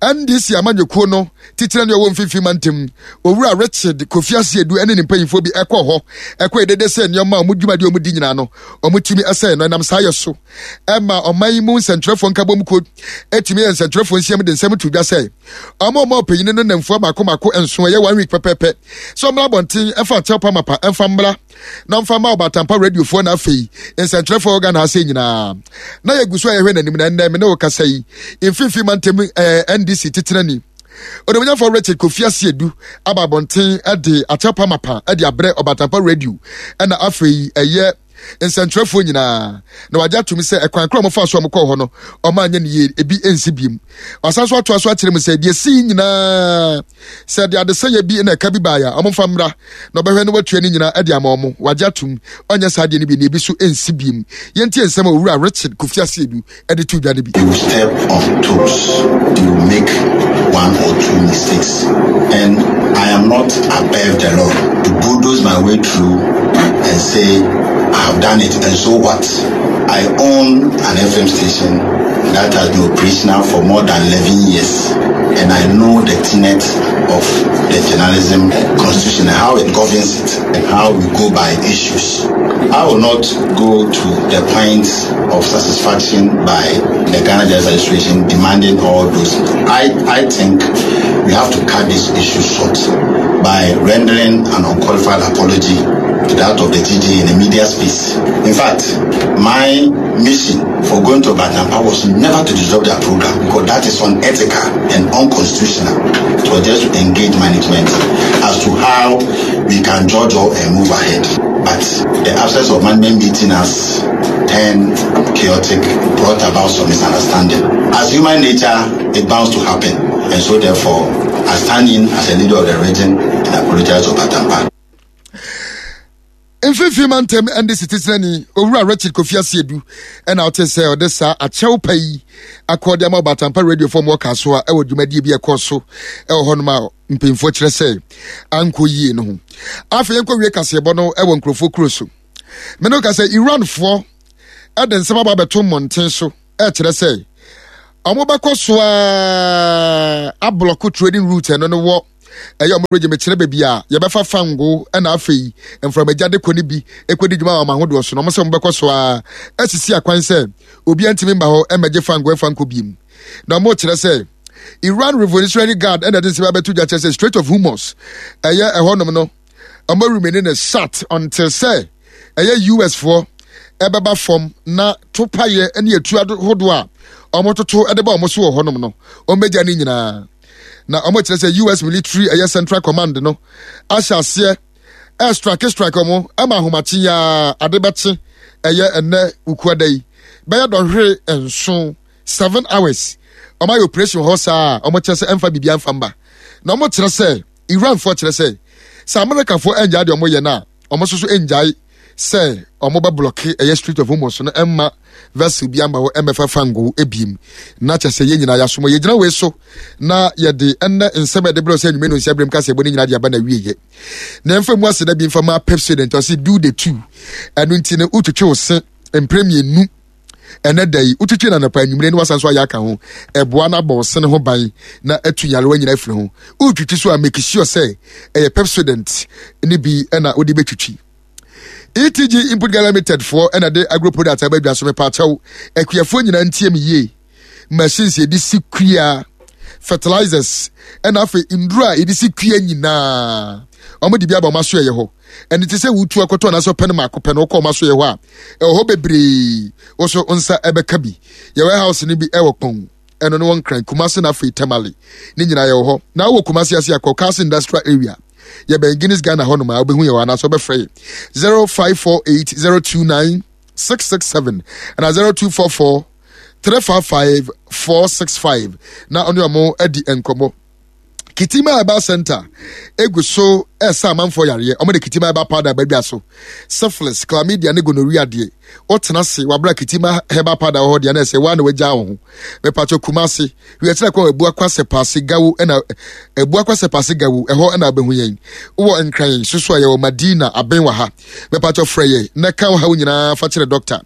N D C amanyɔkuo no titire ne ɔwɔ Mfimfini Mantam, Owura Richard Kofi Asiedu, ne ne mpanyinfoɔ bi ɛkɔ hɔ ɛkɔ edede sɛ nneɛma a wɔn dwumadi a wɔn di nyinaa no wɔn tumi ɛsɛn no. Ɛnam saa yɛ so ɛma ɔman yi mu nsɛntwerɛfoɔ nkabom kuo etumi yɛ nsɛntwerɛfoɔ nsiam de nsɛm to dwa sɛ ɔmo ɔmo ɔpanyin no namfua mako mako nson, ɛyɛ one week pɛpɛɛpɛ, sɛ ɔmmra abɔnten ɛfa akyɛw pamapa ɛmfa mmra na mfa ma Ɔbatampa radiofoɔ na afei nsɛntwerɛfoɔ Ghana ha sɛ nyinaa. Na yɛgu so a yɛhwɛ n'anim na ɛnnɛ me ne wo kasa yi, Mfimfini Mantam ɛɛ N D C titenani Onimnyafo Richard Kofi Asiedu aba abɔnten de akyɛw pamapa de abrɛ Ɔbatampa Radio ɛna afei ɛyɛ nsɛntwerɛfoɔ nyinaa, na wagye atom sɛ ɛkwan koro a wɔfa so a wɔkɔɔ hɔ no, ɔma anyɛ ne yie, ebi nsi biem. Ɔsan so atoa so akyerɛ mu sɛ deɛ si nyinaa sɛ de adesɛyɛ bi na ɛka bi baeɛ a, ɔmomfa mmra na ɔbɛhwɛ no watua ne nyinaa de ama ɔmo. Wagye atom ɔnyɛ saa deɛ no bi na ebi so nsi biem. Yɛntie nsɛm a Owura Richard Kofi Asiedu de to dwa no bi. You step on toes, you make one or two mistakes, and I am not above the law to bulldoze my way through and say I have done it, and so what? I own an F M station that has been operational for more than eleven years, and I know the tenet of the journalism constitution and how it governs it and how we go by issues. I will not go to the point of satisfaction by the Ghana Journalists Association demanding all those. I, I think we have to cut this issue short by rendering an unqualified apology to that of the G J in the media space. In fact, my mission for going to Batampa was never to disrupt their program, because that is unethical and unconstitutional. It was just to engage management as to how we can judge and move ahead. But the absence of management meeting us turned chaotic, brought about some misunderstanding. As human nature, it bounds to happen. And so therefore, I stand in as a leader of the region and apologize to Batampa. Mfimfini Mantam N D C titenani Owura Richard Kofi Asiedu ɛna ɔte sɛ ɔde saa akyɛw pa yi akɔde ama Ɔbatampa Radio fam wɔ Kasoa ɛwɔ dwumadie bi ɛkɔ so ɛwɔ hɔnom a mpanyinfoɔ kyerɛ sɛ ankɔ yie no ho. Afei yɛnkɔ wie kaseɛbɔ no ɛwɔ nkurɔfoɔ kuro so. Mene ka sɛ Iranfoɔ ɛde nsɛm aba abɛto mmɔnten so ɛkyerɛ sɛ ɔmo bɛkɔ so a ablock trading route ɛno no wɔ ɛyɛ ɔmo regye mekyerɛ baabi a yɛbɛfa fango ɛna afei mframagya de kɔ ne bi ekɔdi dwuma wɔ ɔmo ahodoɔ so, na ɔmo sɛ ɔmo bɛkɔ so a asisi akwan sɛ obiara ntumi mba hɔ ɛmɛgye fango ɛfa nkɔ biem. Na ɔmo kyerɛ sɛ Iran Revolutionary Guard ɛna ɛde nsɛm abɛto dwa kyerɛ sɛ Strait of Hormuz ɛyɛ ɛhɔnom no, ɔmo remain ne shut until sɛ ɛyɛ U S foɔ ɛbɛba fam na topayɛ ne etu ahodoɔ a ɔmo toto ɛde ba ɔmo so wɔ hɔnom no, ɔmo bɛgya ne nyinaa. Na ɔmo kyerɛ sɛ U S military ɛyɛ Central Command no ahyɛ aseɛ ɛstrike strike ɔmo ɛma ahomakye yaa ade bɛkye ɛyɛ ɛnɛ Wukuada yi bɛyɛ dɔnhwere nson, seven hours, ɔmo ayɛ operation hɔ saa a ɔmo kyerɛ sɛ ɛmfa biribi amfa mba. Na ɔmo kyerɛ sɛ Iranfoɔ kyerɛ sɛ sɛ Amerikafoɔ ɛngyae deɛ ɔmo yɛ no a, ɔmo nso so ɛngyae sɛ ɔmo bɛ block ɛyɛ Strait of Hormuz no, ɛmma vessel bi amba hɔ ɛmɛfa fango ebiem. Na kyɛ sɛ yɛn nyinaa yɛasom yɛgyina wei so na yɛde ɛnnɛ nsɛm a yɛde brɛ sɛ anwummerɛ no nsia berɛm kasa ɛbɔ ne nyinaa de aba na wieyɛ. Na ɛmfa mu aseda bi mfa ma Pepsodent. Ɔse do the two, ɛno nti no wotwitwe wo se mprɛ mmienu ɛnɛ da yi, wotwitwi na anɔpa, anwummerɛ ne wasan so ayɛ aka ho. Ɛboa no abɔ wo sene ho ban na atu nyarewa nyinaa afiri ho. Wotwitwi so a, make sure sɛ ɛyɛ Pepsodent ne bi ɛna wode bɛtwitwi. E T G Input Ghana Limited foɔ ɛna de agro product aba adwa so. Mepaakyɛw, akuafoɔ nyinaa ntie me yie. Machines yɛde si kua, fertilizers, ɛna afei nduro a yɛde si kua nyinaa, wɔn de bi aba wɔn aso ɛyɛ hɔ. Ɛne te sɛ wutu akɔtɔ anaasɛ ɔpɛ no maako pɛ no, wokɔ wɔn aso yɛ hɔ a, ɛwɔ hɔ bebree. Wɔso nsa ɛbɛka bi. Yɛ warehouse no bi ɛwɔ Kpɔn ɛno no wɔn Nkran, Kumase na afei Tamale ne nyinaa yɛwɔ hɔ. Na wɔ Kumase ase akɔ Castle Industrial Area, yɛbɛn Guinness Ghana hɔ nom a wobɛhu yɛ wɔ, anaasɛ wobɛfrɛ yɛ zero five four eight zero two nine six six seven ɛna zero two four four three five five four six five na ɔne ɔmo adi nkɔmmɔ. Kitima Herbal Center egu so ɛsa amanfoɔ yareɛ. Wɔn de Kitima Herbal Powder abadwa so. Syphilis, chlamydia ne gonorrhea deɛ, wotena ase wabra Kitima Herbal Powder wɔ hɔ deɛ na ɛsɛ waa na wagya wo ho. Mepatwɔ Kumase, wiakyerɛ kwan Abuakwa Sɛpaase Gawo ɛna Abuakwa Sɛpaase Gawo ɛhɔ ɛna abɛhu yɛn. Wowɔ Nkran soso a yɛwɔ Madina aben wɔ ha. Mepatwɔ frɛ yɛ na ka wo haw nyinaa fa kyerɛ doctor.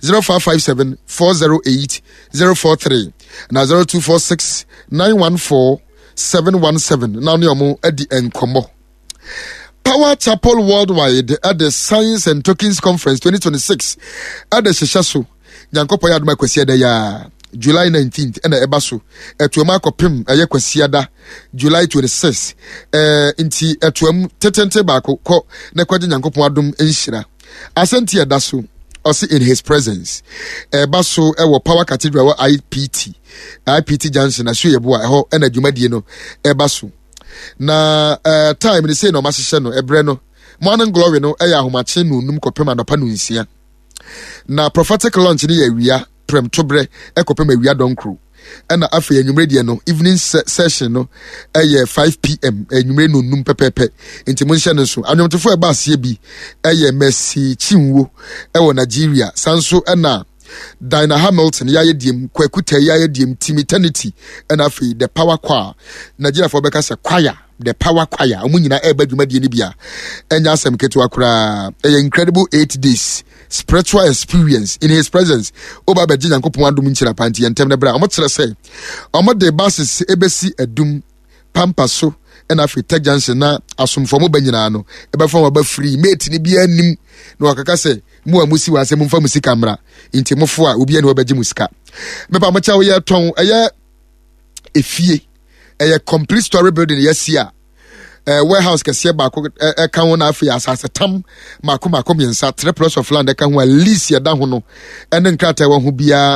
zero five five seven four zero eight zero four three na zero two four six nine one four seven one seven na ne ɔmo adi nkɔmmɔ. Power Chapel Worldwide at the Science and Tokens Conference twenty twenty-six at the hyehyɛ so. Nyankopɔn yɛ adom akwasi ya July nineteenth ɛna ɛba so. Ɛtoam akɔpem ɛyɛ Kwasiada July twenty-six. Ɛɛ nti ɛtoam tetente baako kɔ na kɔgye Nyankopɔn adom nhyira. Asɛnti ɛda so ɔsi in his presence. Ɛba so ɛwɔ Power Cathedral wɔ I P T I P T Junction aso yɛ boa ɛhɔ ɛna dwumadie no ɛba so. Na ɛɛ time ne sei na ɔmo ahyehyɛ no ɛbrɛ no morning glory no ɛyɛ ahomakye no num kɔpem anɔpa no nsia. Na prophetic launch ne yɛ awia prɛm tobrɛ ɛkɔpem awia dɔnkoro. Ɛna afei anwummerɛ deɛ no evening se-, session no ɛyɛ five P M anwummerɛ no num pɛpɛɛpɛ. Nti mo nhyɛ no nso. Anwomtofoɔ ɛba aseɛ bi ɛyɛ Mercy Chinwo ɛwɔ Nigeria. Sanso ɛna Dinah Hamilton yɛayɛ diem, Kwaku Tɛ yɛayɛ diem, Team Eternity ɛna afei The Power Choir. Nigeriafoɔ bɛka sɛ choir, The Power Choir. Ɔmo nyinaa ɛreba dwumadie no bi a ɛnyɛ asɛm ketewa koraa. Ɛyɛ incredible eight days spiritual experience in his presence. Oba bɛgye Nyankopɔn adom nkyira pa nti yɛntɛm no bra. Ɔmo kyerɛ sɛ ɔmo de buses ebesi adum pampa so ɛna afei Tech Junction na asomfo mo ba nyinaa no ɛbɛfa wɔn aba free. Mate ni bi anim na wakaka sɛ mo a musi wɔ asɛm mfa mo sika mmra nti mofo a obi ani wɔbɛgye mo sika. Mepa mo kyɛw yɛ tɔn ɛyɛ efie ɛyɛ complete story building yɛsi a eh, warehouse kɛseɛ baako ɛka ho na afei asase tam mako mako mmiɛnsa three plots of land ɛka ho a lease yɛda ho no ɛne nkrataa ɛwɔ ho biara